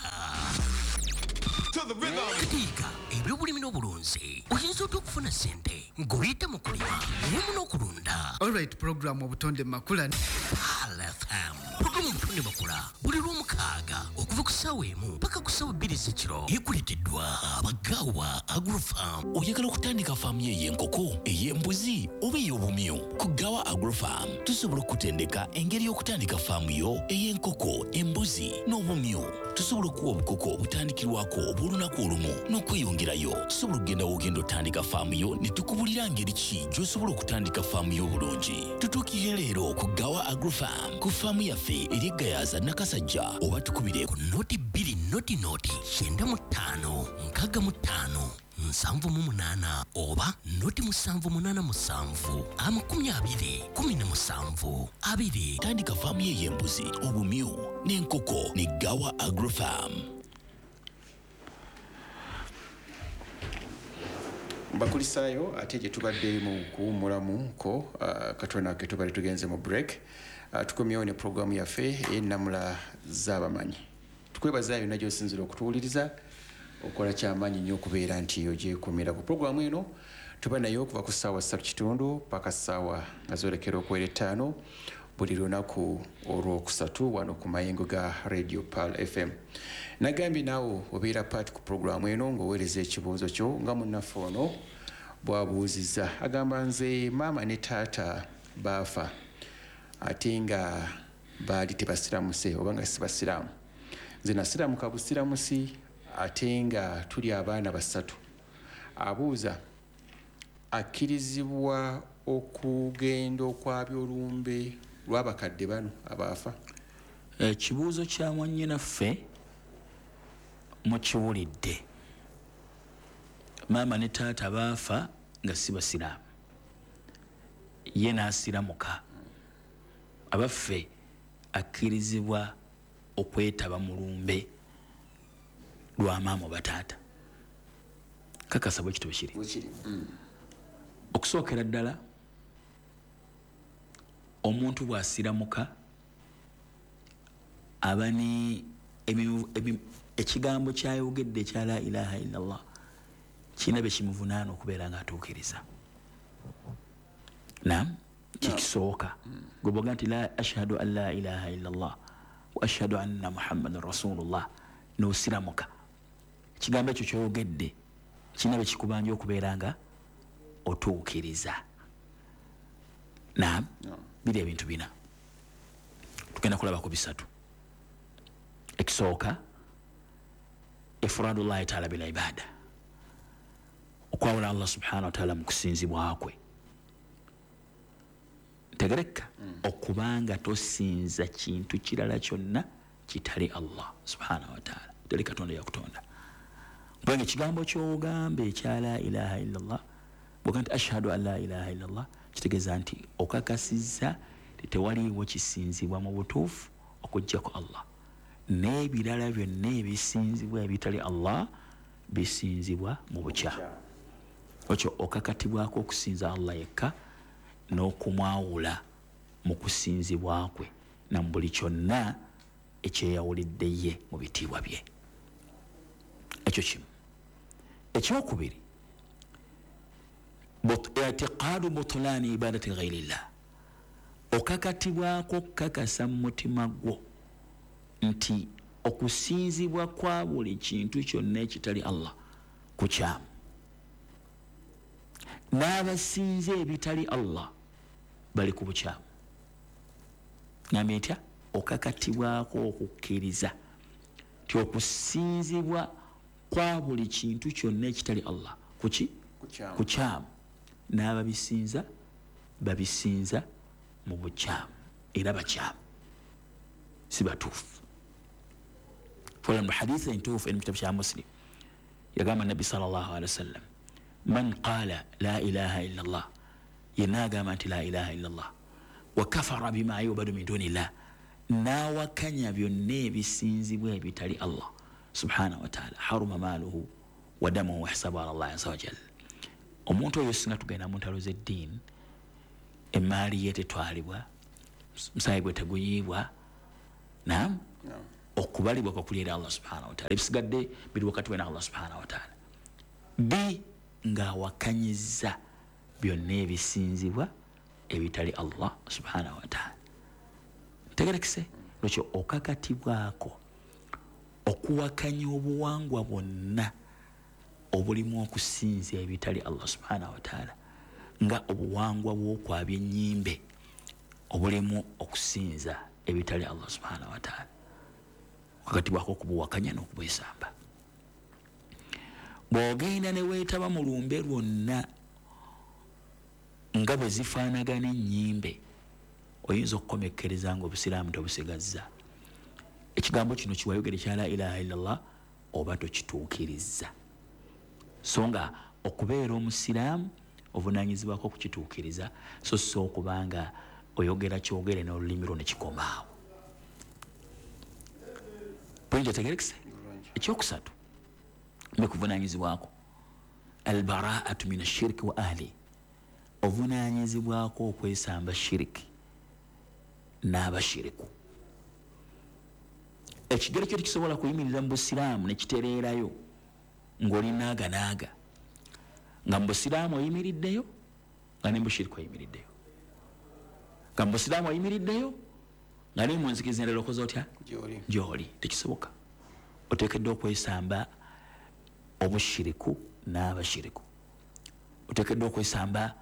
Katiika ebyobulimi n'obulunzi oyinza otya okufuna ssente ng'oyita mu kulima wamu n'okulunda. Alright, program Obutonde Makula. Pearl F M. Programu Obutonde Makula buli lw'omukaaga okuva ku ssaawa emu paka ku ssaawa bbiri z'ekiro. Ekuleeteddwa Abagawa Agrofarm. Oyagala okutandika faamu yo ey'enkoko, ey'embuzi oba ey'obumyu? Ku Gawa Agrofarm tusobola okutendeka engeri y'okutandika faamu yo ey'enkoko, embuzi n'obumyu. Tusobola okuwa obukoko obutandikirwako obw'olunaku olumu n'okweyongerayo. Tusobola okugenda w'ogenda otandika faamu yo ne tukubulira ngeri ki gy'osobola okutandika faamu yo obulungi. Tutuukire leero ku Gawa Agrofarm ku faamu yaffe eri e Gayaza Nakasajja oba tukubire ku noti bbiri noti noti kyenda mu ttaano nkaaga mu ttaano nsanvu mu munaana oba noti musanvu munaana musanvu amakumi abiri kumi na musanvu abiri. Tandika faamu ye ey'embuzi, obumyu n'enkoko ne Gawa Agrofarm. Mbakulisaayo ate gye tubadde mu kuwummulamuko uh, katono ke tubadde tugenze mu break. uh, tukomyewo ne programu yaffe ey'ennamula z'abamanyi. Tukwebaza yonna gy'osinziira okutuwuliriza, okola kyamaanyi nnyo okubeera nti ogyekumira ku programu eno. Tuba nayo okuva ku ssaawa ssatu kitundu paka ssaawa nga zoolekera okuwera ettaano buli lunaku olwokusatu wano ku mayengo ga Radio Pearl F M. Nagambye naawe obeera part ku programu eno ng'oweereza ekibuuzo kyo nga munnaffe ono bw'abuuzizza. Agamba, nze maama ne taata baafa ate nga baali tebasiramuse oba nga si basiraamu. Nze nasiramuka busiramusi ate nga tuli abaana basatu. Abuuza, akkirizibwa okugenda okwabya olumbe lw'abakadde bano abaafa? Ekibuuzo kya mwannyinaffe mukiwulidde. Maama ne taata baafa nga si basiraamu, ye n'asiramuka. Abaffe akkirizibwa okwetaba mu lumbe lwa maama oba taata? Kakasa bwe kityo kiri. Okusookera ddala, omuntu bw'asiramuka aba ne ekigambo kyayogedde ekya la ilaha illallah kirina bye kimuvunaana okubeera ng'atuukiriza. Naam, kikisooka gwe bw'ogamba nti la ashhadu an la ilaha illallah wa ashhadu anna muhammadan rasulullah n'osiramuka, ekigambo ekyo ky'oyogedde kirina bye kikubanja okubeera nga otuukiriza. Naam, biri ebintu bina, tugenda kulaba ku bisatu. Ekisooka, ifradullahi taala bil ibada, okwawula Allah subhanahu wa taala mu kusinzibwa kwe. Ntegereka, okubanga tosinza kintu kirala kyonna kitali Allah subhanahu wa taala, teri Katonda yakutonda. Kubanga ekigambo ky'ogamba ekya la ilaha illallah, bw'ogamba nti ashhadu an la ilaha illallah, kitegeeza nti okakasizza tewaliiwo kisinzibwa mu butuufu okuggyako Allah, n'ebirala byonna ebisinzibwa ebitali Allah bisinzibwa mu bukyamu. Ekyo okakatibwako okusinza Allah yekka n'okumwawula mu kusinzibwa kwe na mu buli kyonna ekyeyawulidde ye mu bitiibwa bye. Ekyo kimu. Ekyokubiri, i'tiqadu butulani ibadati ghairillah, okakatibwako okukakasa mu mutima gwo nti okusinzibwa kwa buli kintu kyonna ekitali Allah kukyamu, n'abasinza ebitali Allah bali ku bukyamu. Ngambye ntya? Okakatibwako okukkiriza nti okusinzibwa kwa buli kintu kyonna ekitali Allah kuki? Kukyamu, n'ababisinza babisinza mu bukyamu era bakyamu, si batuufu. Fola mu hadithi entuufu eri mu kitabo kya Muslim, yagamba Nabbi sallallahu alaihi wasallam, man qala la ilaha illa Allah, yenna agamba nti la ilaha illa Allah, wa kafara bima yubadu min dunillah, n'awakanya byonna ebisinzibwa ebitali Allah subhanahu wa ta'ala, haruma maaluhu wa damuhu wa hisabuhu ala Allah azza wa jalla, Omuntu oyo singa tugenda mu ntalo z'eddiini, emaali ye tetwalibwa, musaayi gwe teguyiibwa, naam, okubalibwa kwe kuli eri Allah subhanahu wa ta'ala, ebisigadde biri wakati we ne Allah subhanahu wa ta'ala. B, ng'awakanyizza byonna ebisinzibwa ebitali Allah subhanahu wa ta'ala. Tegerekese lwekyo okakatibwako okuwakanya obuwangwa bwonna obulimu okusinza ebitali Allah subhanahu wa ta'ala, nga obuwangwa bw'okwabya ennyimbe obulimu okusinza ebitali Allah subhanahu wa ta'ala, okakatibwako okubuwakanya n'okubwesamba. Bw'ogenda ne weetaba mu lumbe lwonna nga bwe zifaanagana ennyimbe, oyinza okukomekkereza nga obusiraamu tobusigazza. Ekigambo kino kiwayogere kya la ilaha illallah oba tokituukirizza. So nga okubeera omusiraamu ovunaanyizibwako okukituukiriza, so si okubanga oyogera kyogere n'olulimi lwo ne kikomaawo. Pointi etegerekese? Ekyokusatu mbekuvunaanyizibwako albaraatu min ashiriki wa ahli, ovunaanyizibwako okwesamba shiriki n'abashiriku. Ekigero kyo tekisobola kuyimirira mu busiraamu ne kitereerayo ng'oli naaga naaga, nga mu busiraamu oyimiriddeyo nga ne mu bushiriku oyimiriddeyo, nga mu busiraamu oyimiriddeyo nga ne mu nzikiriza endala okoze otya gy'oli. Tekisoboka. Oteekeddwa okwesamba obushiriku n'abashiriku, oteekeddwa okwesamba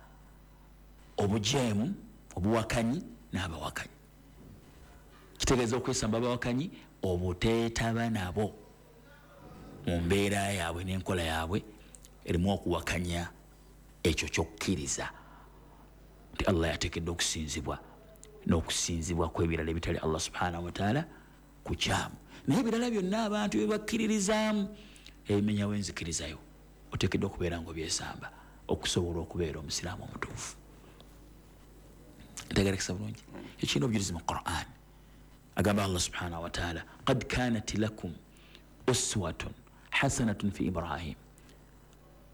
obujeemu, obuwakanyi n'abawakanyi. Kitegeeza okwesamba abawakanyi obuteetaba nabo mu mbeera yaabwe n'enkola yaabwe erimu okuwakanya ekyo ky'okkiriza nti Allah yateekeddwa okusinzibwa n'okusinzibwa kw'ebirala ebitali Allah subhanahu wa ta'ala kukyamu. Naye ebirala byonna abantu bye bakkiririzaamu ebimenyawo enzikirizayo, oteekeddwa okubeera ng'obyesamba okusobola okubeera omusiraamu omutuufu. Ntegerekesa bulungi? Ekirina obujulizi mu Qur'an. Agamba Allah subhanahu wa ta'ala, qad kanat lakum uswatun hasanatun fi Ibrahim,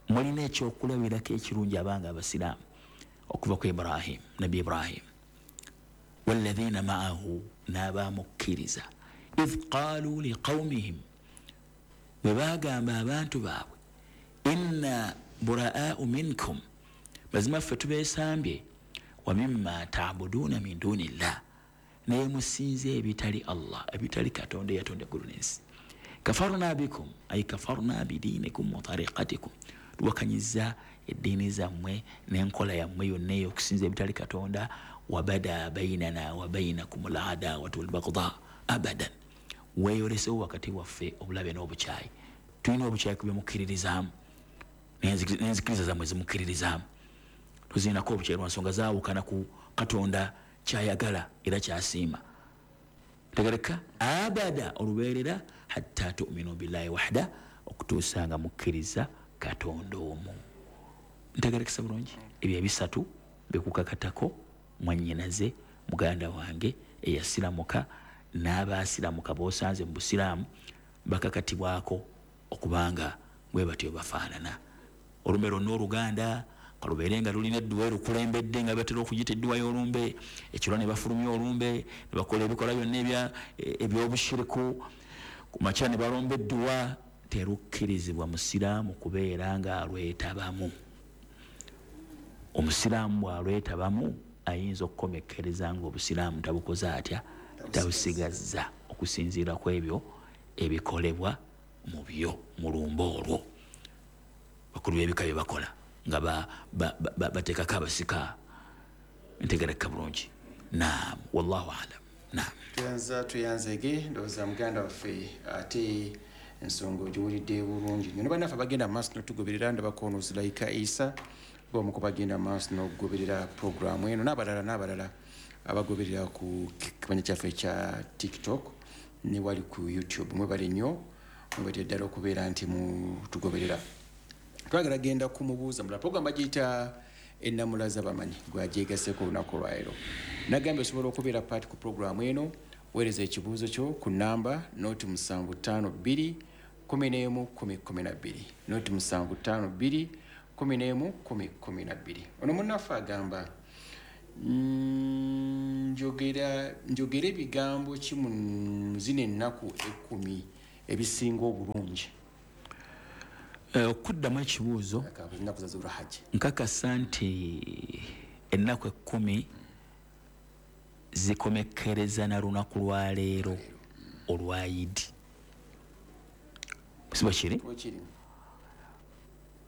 mulina ekyokulabirako ekirungi abanga abasiraamu okuva ku Ibrahim, Nabbi Ibrahim, walladhina ma'ahu, n'abamukkiriza, idh qalu liqawmihim, bwe baagamba abantu baabwe, inna buraa'u minkum, mazima ffe tubeesambye, wa mimma ta'buduuna min dunillah, naye musinze ebitali Allah, ebitali Katonda eyatonda eggulu n'ensi. Kafarna bikum, ay kafarna bidinikum wa tariqatikum, tuwakanyizza eddiini zammwe n'enkola yammwe yonna ey'okusinza ebitali Katonda. Wabada bainana wa bainakum al-adawatu wal-baghdha abadan, weeyolesewo wakati waffe obulabe n'obukyayi. Tulina obukyayi ku bye mukkiririzaamu n'enzikiriza zammwe zimukkiririzaamu, tuzirinako obukyayi lwa nsonga zaawukana ku Katonda kyayagala era kyasiima. Tegereka abada, olubeerera, hatta tu'minu billahi wahda, okutuusa nga mukkiriza Katonda omu. Ntegerekesa bulungi? Ebyo ebisatu bikukakatako mwannyinaze, muganda wange eyasiramuka n'abaasiramuka b'osanze mu busiraamu bakakatibwako okubanga bwe batyo bafaanana. Olumbe lwonna oluganda kalubeere nga lulina edduwa erukulembedde nga batera okuyita edduwa y'olumbe, ekiro ne bafulumya olumbe ne bakola ebikola byonna eby'obushiriku, ku makya ne balomba edduwa. Terukkirizibwa musiraamu kubeera ng'alwetabamu. Omusiraamu bw'alwetabamu ayinza okukomekkereza ng'obusiraamu tabukoze atya, tabusigazza, okusinziira ku ebyo ebikolebwa mu byo mu lumbe olwo. Bakulu b'ebika bye bakola nga bateekako abasika. Ntegereka bulungi? Naam, wallahu alam. Naam. Tuyanza tuyanzege, ndowooza muganda waffe ate ensonga ogiwulidde bulungi nnyo. Ne bannaffe abagenda mu maaso n'otugoberera, ndabako ono Zulaika Isa b'omu ku bagenda mu maaso n'okugoberera puroguraamu eno, n'abalala n'abalala abagoberera ku kimanya kyaffe ekya TikTok ne wali ku YouTube. Mwebale nnyo, mwebale ddala okubeera nti mutugoberera. Twagala genda kumubuuza mulala. Puroguraamu bagiyita Ennamula z'abamanyi, gwagyegaseeko olunaku olwaleero. Nagambye osobola okubeera paati ku puroguraamu eno, weereza ekibuuzo kyo ku namba noti musanvu ttaano bbiri kumi n'emu kumi kumi na bbiri, noti musanvu ttaano bbiri kumi n'emu kumi kumi na bbiri. Ono munnaffe agamba, njogera njogera ebigambo ki mu zino ennaku ekkumi ebisinga obulungi? Okuddamu ekibuuzo, ennaku za Zulhajji, nkakasa nti ennaku ekkumi zikomekkereza na lunaku lwa leero olwa Idi. Si bwe kiri?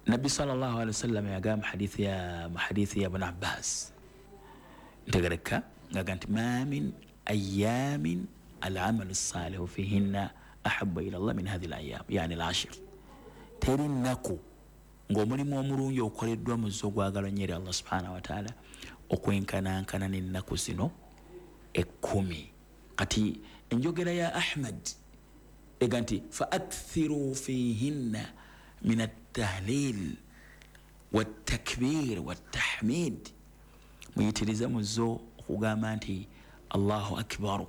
Nabbi sallallahu alaihi wasallam yagamba hadithi ya hadithi ya Ibn Abbas, ntegereka ngaga nti ma min ayamin al-amalu salihu fihinna ahabba ila Allah min hadhihi al-ayyam, yani al-ashr. Teri nnaku ng'omulimu omulungi okoleddwa mu zo gwagala nnyo eri Allah subhanahu wa ta'ala okwenkanankana n'ennaku zino ekkumi. Kati enjogera ya Ahmad ega nti fa akthiru fihinna min at-tahlil wat-takbir wat-tahmid, muyitirize mu zo okugamba nti Allahu akbar,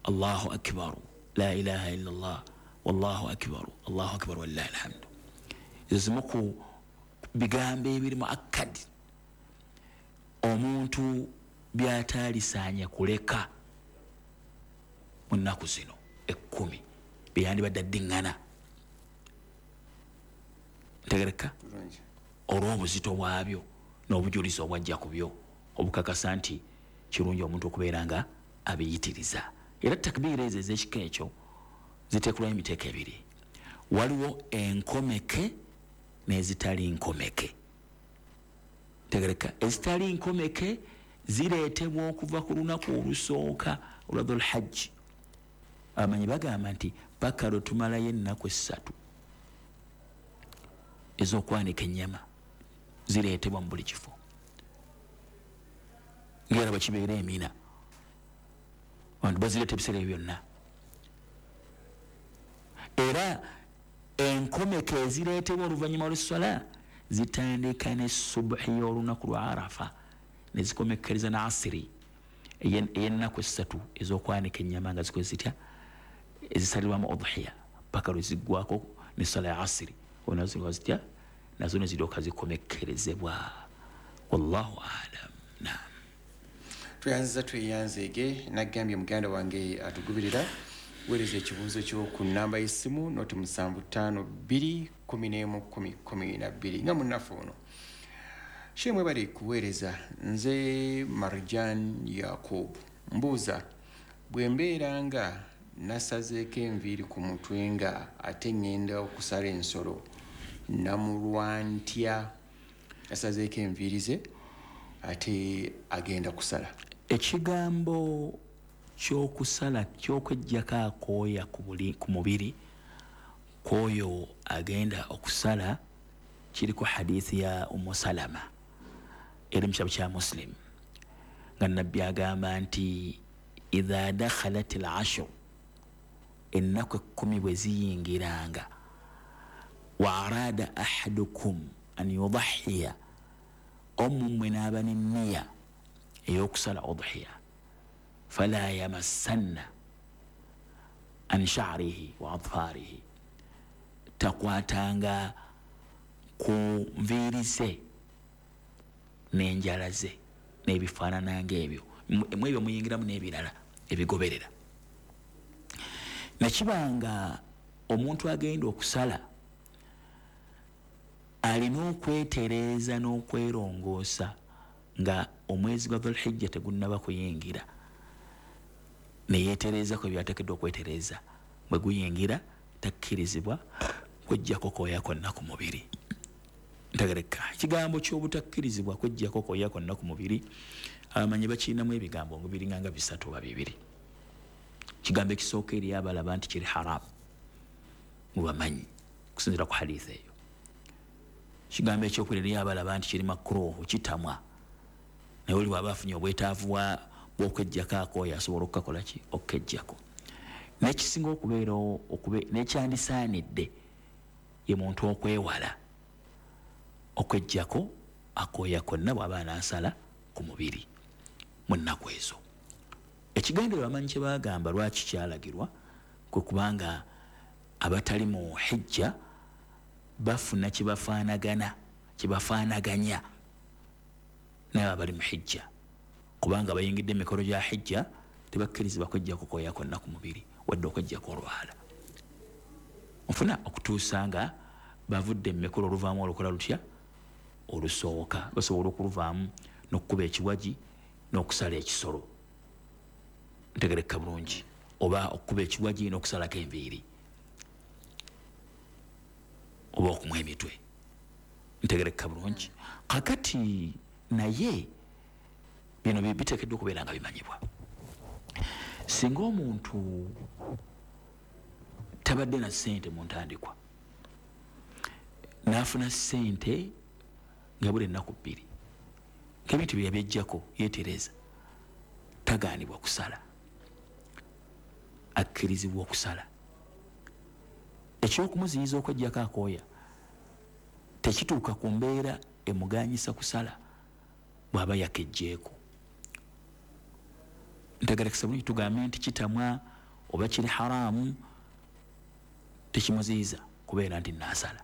Allahu akbar, la ilaha illa Allah, wallahu akbar, Allahu akbar walillahi alhamdu. Ezo zimu ku bigambo ebiri mu akkadi omuntu by'ataalisaanya kuleka mu nnaku zino ekkumi byeyandibadde addiŋŋana. Ntegereka olw'obuzito bwabyo n'obujulizi obwajja ku byo obukakasa nti kirungi omuntu okubeera nga abiyitiriza. Era takbiira ezo ez'ekika ekyo ziteekulwayo emiteeko ebiri, waliwo enkomeke n'ezitali nkomeke. Ntegereka ezitali nkomeke zireetebwa okuva ku lunaku olusooka olwa Dhul-Hajji. Abamanyi bagamba nti paka lwe tumalayo ennaku essatu ez'okwanika ennyama zireetebwa mu buli kifo, ng'era bwe kibeera emina abantu bazireeta ebiseera ebyo byonna. Era enkomeke ezireetebwa oluvannyuma lw'esswala zitandika ne subuhi y'olunaku lwa Arafa ne zikomekkereza na asiri ey'ennaku essatu ez'okwanika ennyama nga zikoze zitya ezisalirwamu udhiya paka lwe ziggwako ne ssala ya asiri onazo zitya nazo ne ziryoka zikomekkerezebwa. Wallahu a'lam. Naam. Tweyanziza tweyanzeege. Nagambye muganda wange atugubirira, weereza ekibuuzo kyo ku nnamba y'essimu noti musanvu ttaano bbiri kumi n'emu kumi kumi na bbiri. Nga munnaffe ono Sheikh mwebale kuweereza. Nze Marjan Yakub, mbuuza bwe mbeera nga nasazeeko enviiri ku mutwe nga ate ŋŋenda okusala ensolo namulwa ntya? Nasazeeko enviiri ze ate agenda kusala. Ekigambo ky'okusala ky'okweggyako akooya ku buli ku mubiri kw'oyo agenda okusala kiriko hadithi ya Ummu Salama eri mu kitabo kya Muslim, nga Nabbi agamba nti idha dakhalat al-ashr, ennaku ekkumi bwe ziyingiranga, wa arada ahadukum an yudahiya, omu mmwe n'aba n'enniya ey'okusala udhiya, fala yamassanna an sha'rihi wa adfarihi, takwatanga ku nviiri ze n'enjala ze n'ebifaanana ng'ebyo, mu ebyo muyingiramu n'ebirala ebigoberera. Nekibanga omuntu agenda okusala alina okwetereeza n'okwerongoosa nga omwezi gwa Dhul-Hijja tegunnaba kuyingira, neyeetereezako ebyateekeddwa okwetereeza. Bwe guyingira takkirizibwa kweggyako kooya konna ku mubiri. Ntegereka ekigambo ky'obutakkirizibwa kweggyako kooya konna ku mubiri, abamanyi bakirinamu ebigambo nga biringa nga bisatu oba bibiri. Ekigambo ekisooka eri abalaba nti kiri haramu mubamanyi okusinziira ku hadithi eyo. Ekigambo ekyokubiri eri abalaba nti kiri makruhu, kitamwa, naye oli bw'aba afunye obwetaavu bw'okweggyako akooya asobola okukakola ki? Okukeggyako. N'ekisinga okubeera n'ekyandisaanidde ye muntu okwewala okweggyako akooya konna bw'aba anaasala ku mubiri mu nnaku ezo. Ekigendererwa abamanyi kye baagamba lwaki kyalagirwa kwe kubanga abatali mu hijja bafuna kye bafaanagana Kyebafaanaganya naye abali mu hijja, kubanga bayingidde emikolo gya hijja tebakkirizibwa kweggyako kooya konna ku mubiri wadde okweggyako olwala. Nfuna okutuusa nga bavudde mu mikolo oluvaamu olukola lutya olusooka, basobola okuluvaamu n'okukuba ekiwagi n'okusala ekisolo, ntegereka bulungi, oba okukuba ekiwagi n'okusalako enviiri oba okumwa emitwe, ntegereka bulungi. Kakati naye bino biteekeddwa okubeera nga bimanyibwa. Singa omuntu tabadde na ssente mu ntandikwa n'afuna ssente nga buli ennaku bbiri ng'ebintu bye yabyeggyako yeetereza, tagaanibwa kusala, akkirizibwa okusala. Ekyokumuziyiza okweggyako akooya tekituuka ku mbeera emuganyisa kusala bw'aba yakeggyeko. Ntegerekesa bulungi, tugambe nti kitamwa oba kiri haramu tekimuziyiza kubeera nti naasala.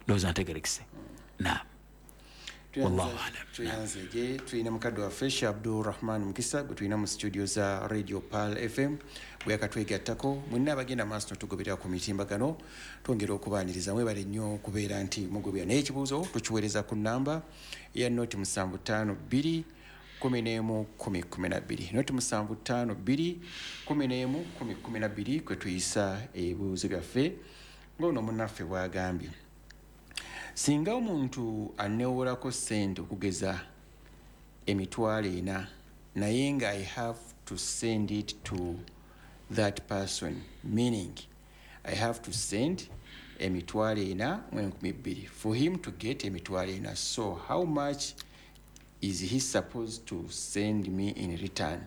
Ndowooza ntegerekese. Naam, wallahu alam. Tuyanzege tulina mukadde waffe Sheikh Abdulrahman Mukisa gwe tulina mu studio za Radio Pearl F M bwe yakatwegattako. Mwenna abagenda maaso notugoberera ku mitimbagano twongera okubaaniriza, mwebale nnyo okubeera nti mugobera. Naye ekibuuzo tukiweereza ku nnamba eya noti musanvu ttaano bbiri kumi n'emu kumi kumi na bbiri, noti musanvu ttaano bbiri kumi n'emu kumi kumi na bbiri kwe tuyisa ebibuuzo byaffe ng'ono munnaffe bw'agambye. Singa omuntu aneewolako ssente okugeza emitwalo ena naye nga I have to send it to that person, meaning I have to send emitwalo ena mu enkumi bbiri for him to get emitwalo ena, so how much is he supposed to send me in return?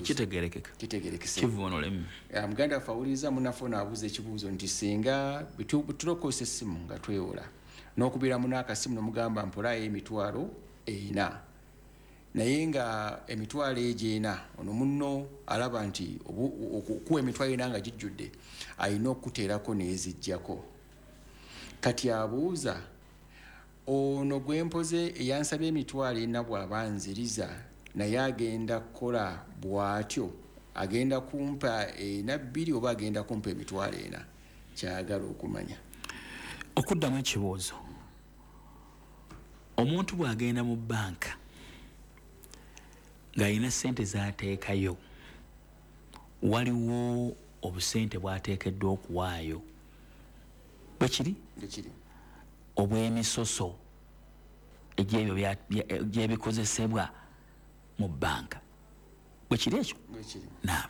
Kitegerekeka, kitegerekese. Kivvuunulemu. Muganda waffe awuliriza munnaffe ono abuuza ekibuuzo nti singa tulokosa essimu nga twewola n'okubiramu n'akasimu n'omugamba mpolayo emitwalo ena, naye nga emitwalo egyo ena ono munno alaba nti okuwa emitwalo ena nga gijjudde alina okuteerako n'eziggyako. Kati abuuza ono gwe mpoze eyansabye emitwalo ena bw'aba nziriza naye agenda kukola bw'atyo, agenda kumpa ena bbiri oba agenda kumpa emitwalo ena? Kyagala okumanya. Okuddamu ekibuuzo, omuntu bw'agenda mu bbanka ng'alina ssente z'ateekayo, waliwo obusente bw'ateekeddwa okuwaayo, bwe kiri? Bwe kiri. Obw'emisoso egy'ebyo gy'ebikozesebwa mu bbanka, bwe kiri ekyo? Bwe kiri. Naam.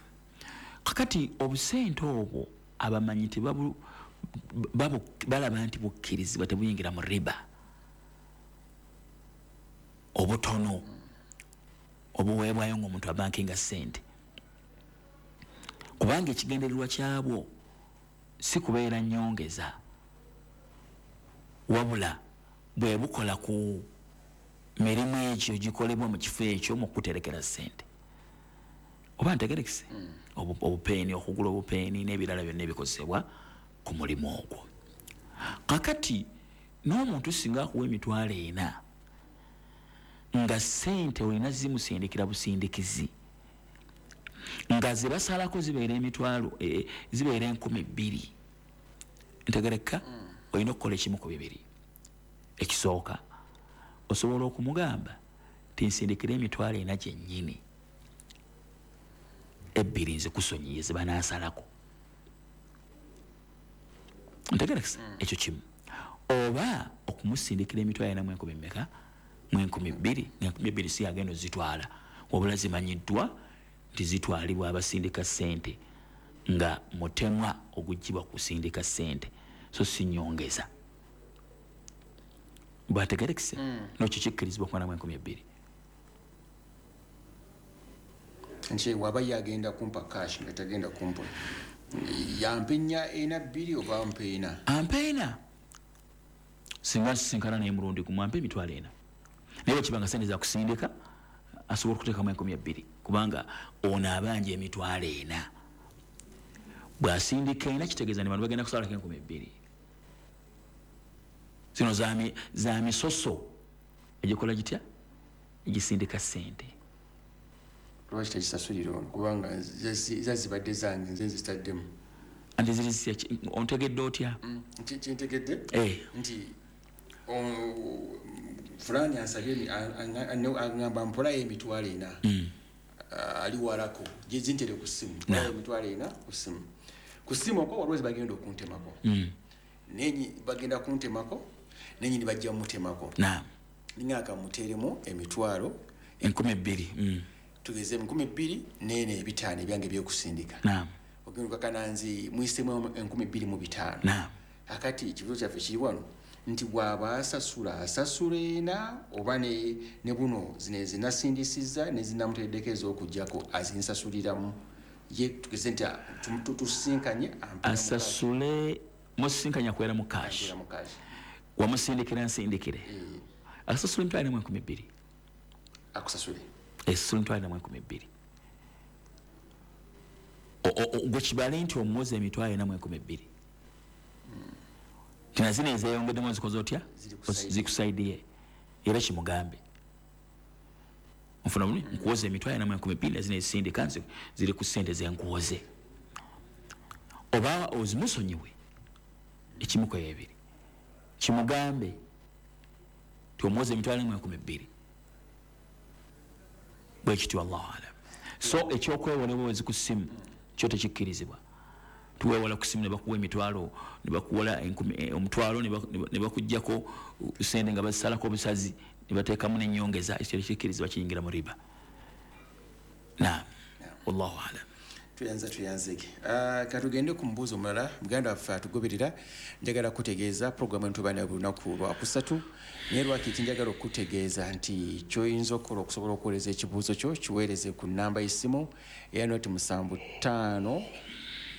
Kakati obusente obwo abamanyi tebabu balaba nti bukkirizibwa, tebuyingira mu riba, obutono obuweebwayo ng'omuntu abankinga ssente, kubanga ekigendererwa kyabwo si kubeera nnyongeza, wabula bwe bukola ku mirimu egyo gikolebwa mu kifo ekyo mu kuterekera ssente. Oba ntegerekese? Obupeeni, okugula obupeeni n'ebirala byonna ebikozesebwa ku mulimu ogwo. Kakati n'omuntu singa akuwa emitwalo ena nga ssente olina zimusindikira busindikizi, nga ze basalako zibeera emitwalo e, zibeera enkumi bbiri, ntegereka, olina okukola ekimu ku bibiri. Ekisooka, osobola okumugamba nti nsindikira emitwalo ena gyennyini, ebbiri nzikusonyiye ze banaasalako. Ntegerekesa? Ekyo kimu. Oba okumusindikira emitwalo ena mu enkumi mmeka? Mu enkumi bbiri. Enkumi ebbiri si agenda ozitwala, wabula zimanyiddwa nti zitwalibwa abasindika ssente nga mutemwa oguggyibwa kusindika ssente, so si nnyongeza. Bwategerekese? N'ekyo kikkirizibwa okuba namu enkumi ebbiri. Nti waba yagenda kumpa cash nga tagenda kumpa, yampa ennya ena bbiri oba ampa ena? Ampa ena. Singa nsisinkana naye mulundi gumu ampa emitwalo ena, naye bwe kiba nga ssente za kusindika asobola okuteekamu enkumi ebbiri, kubanga ono abanja emitwalo ena, bw'asindika ena kitegeeza nti bano bagenda kusalako enkumi ebbiri. Zino za misoso egikola gitya, egisindika sente. Lwaki tekisasulira ono? Kubanga zazibadde zange, nze nzitaddemu. Anti ziri ontegedde otya? Kintegedde nti fulani ansabye, agamba mpolayo emitwalo ena, ali walako, zintere ku ssimu, mpolayo emitwalo ena ku ssimu. Ku ssimu okwo waliwo bagenda okuntemako, nenyi bagenda kuntemako, nenyini bajja mutemako. Ninga akamuteremu emitwalo enkumi bbiri, tugeze enkumi bbiri nene ebitaano ebyange ebyokusindika. Ogenda kananzi mwisemu enkumi bbiri mu bitaano. Akati ekibuzo kyaffe kiri wano nti bw'aba asasula asasula ena oba ne buno zino ezinasindisizza nezinamuteddeko ez'okuggyako azinsasuliramu ye, tugeze nti tusinkanye asasule musisinkanya kwera mu cash, wamusindikira nsindikire, asasula emitwalo ena mu enkumi bbiri, akusasule asasula emitwalo ena mu enkumi bbiri. Gwe kibale nti omuwoza emitwalo ena mu enkumi bbiri, tina zino ezeyongeddemu zikoze otya, zikusaidiye, era kimugambe nfuna bulungi, nkuwoza emitwalo ena mu enkumi bbiri na zino ezisindika ziri ku ssente zenkuwoze, oba ozimusonyiwe ekimu ku ebiri, kimugambe ti omuwoza emitwalo ena mu enkumi bbiri, bwe kityo. Wallahu alam. So ekyokwewola obuwezi ku ssimu kyo tekikkirizibwa. Tuwewola ku ssimu ne bakuwa emitwalo, ne bakuwola omutwalo, ne bakuggyako sente nga bazisalako obusazi, ne bateekamu n'ennyongeza, ekyo tekikkirizibwa, kiyingira mu riba. Naam, wallahu alam. Tuyanza tuyanzege. Katugende ku mubuuzo omulala. Muganda waffe atugoberera, njagala kutegeeza programu eno tuba nayo buli lunaku lwakusatu, naye lwaki kinjagala okutegeeza nti ky'oyinza okukola okusobola okuweereza ekibuuzo kyo, kiweereze ku nnamba y'essimu eya noti musanvu ttaano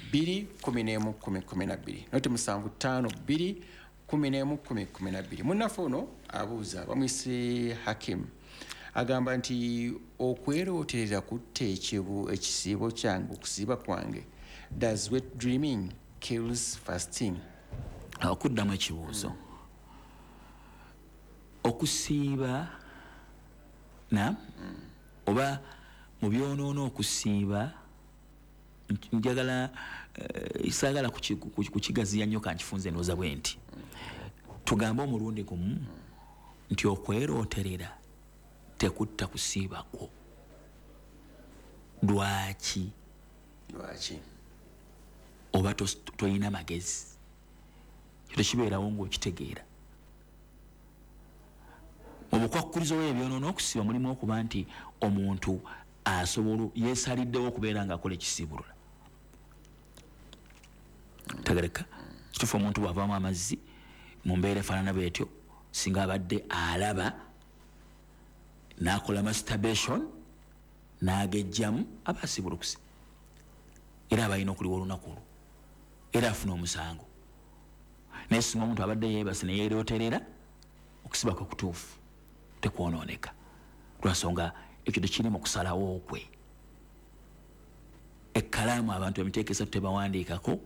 bbiri kumi n'emu kumi kumi na bbiri, noti musanvu ttaano bbiri kumi n'emu kumi kumi na bbiri. Munnaffe ono abuuza, bamuyise Hakim, agamba nti okwerooterera kutta ekisiibo kyange, okusiiba kwange. Does wet dreaming kills fasting? Okuddamu ekibuuzo, okusiiba na oba mu byonoona okusiiba, njagala saagala kukigaziya nnyo, kankifunze endowooza bwe nti tugambe omulundi gumu nti okwerooterera tekutta kusiiba kwo. Lwaki? Lwaki? Oba toyina magezi, ekyo tekibeerawo ng'okitegeera. Mu bukwakkulizo bw'ebyonoona okusiiba mulimu okuba nti omuntu asobola yeesaliddewo okubeera ng'akola ekisiibulula. Tegereka kituufu, omuntu bw'avaamu amazzi mu mbeera efaanana bw'etyo, singa abadde alaba n'akola masturbation n'agejjamu, aba asibulukuse, era aba alina okuliwa olunaku olwo, era afuna omusango. Naye singa omuntu abadde yeebase ne yeerooterera, okusiba kwe kutuufu tekwonooneka, lwansonga ekyo tekiri mu kusalawo kwe. Ekkalaamu abantu emiteeko esatu tebawandiikako,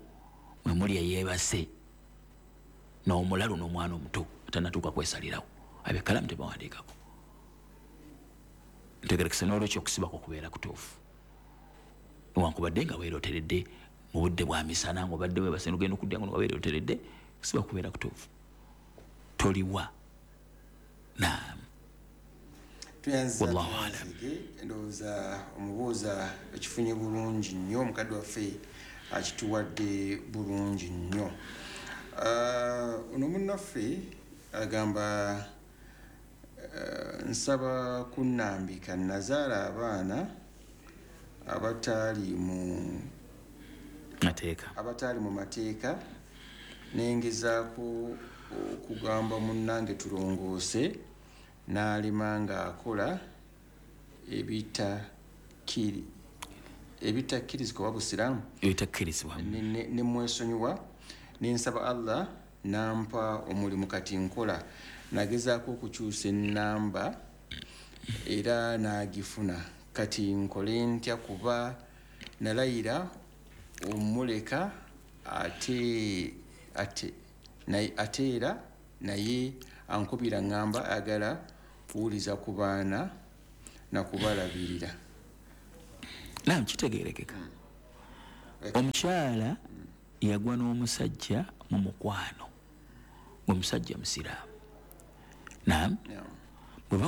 mwe muli eyeebase n'omulalu n'omwana omuto atannatuuka kwesalirawo, abo ekkalaamu tebawandiikako. Ntegerekese n'olwekyo okusiba kwo kubeera kutuufu, newankubadde nga weerooteredde mu budde bwa misana, ng'obadde weebase n'ogenda okudda nga weerooteredde, okusiba kubeera kutuufu, toliwa. Naam, wallahu alam. Ndowooza omubuuza ekifunye bulungi nnyo, omukadde waffe akituwadde bulungi nnyo. Ono munnaffe agamba, nsaba kunnambika, nazaala abaana abatali mu mateeka, abatali mu mateeka, nengezaako okugamba munnange tulongoose, n'alima ng'akola ebitakiri ebitakkirizibwa busiraamu, ebitakkirizibwa, ne mwesonyiwa, ne nsaba Allah nampa omulimu kati nkola. Nagezaako okukyusa ennamba era n'agifuna, kati nkole ntya kuba nalayira omuleka ate ate naye ate era Naye ankubira ngamba agala kuwuliza ku baana nakubalabirira. Naam, kitegeerekeka. Omukyala yagwa n'omusajja mu mukwano, ng'omusajja musiraamu. Naam,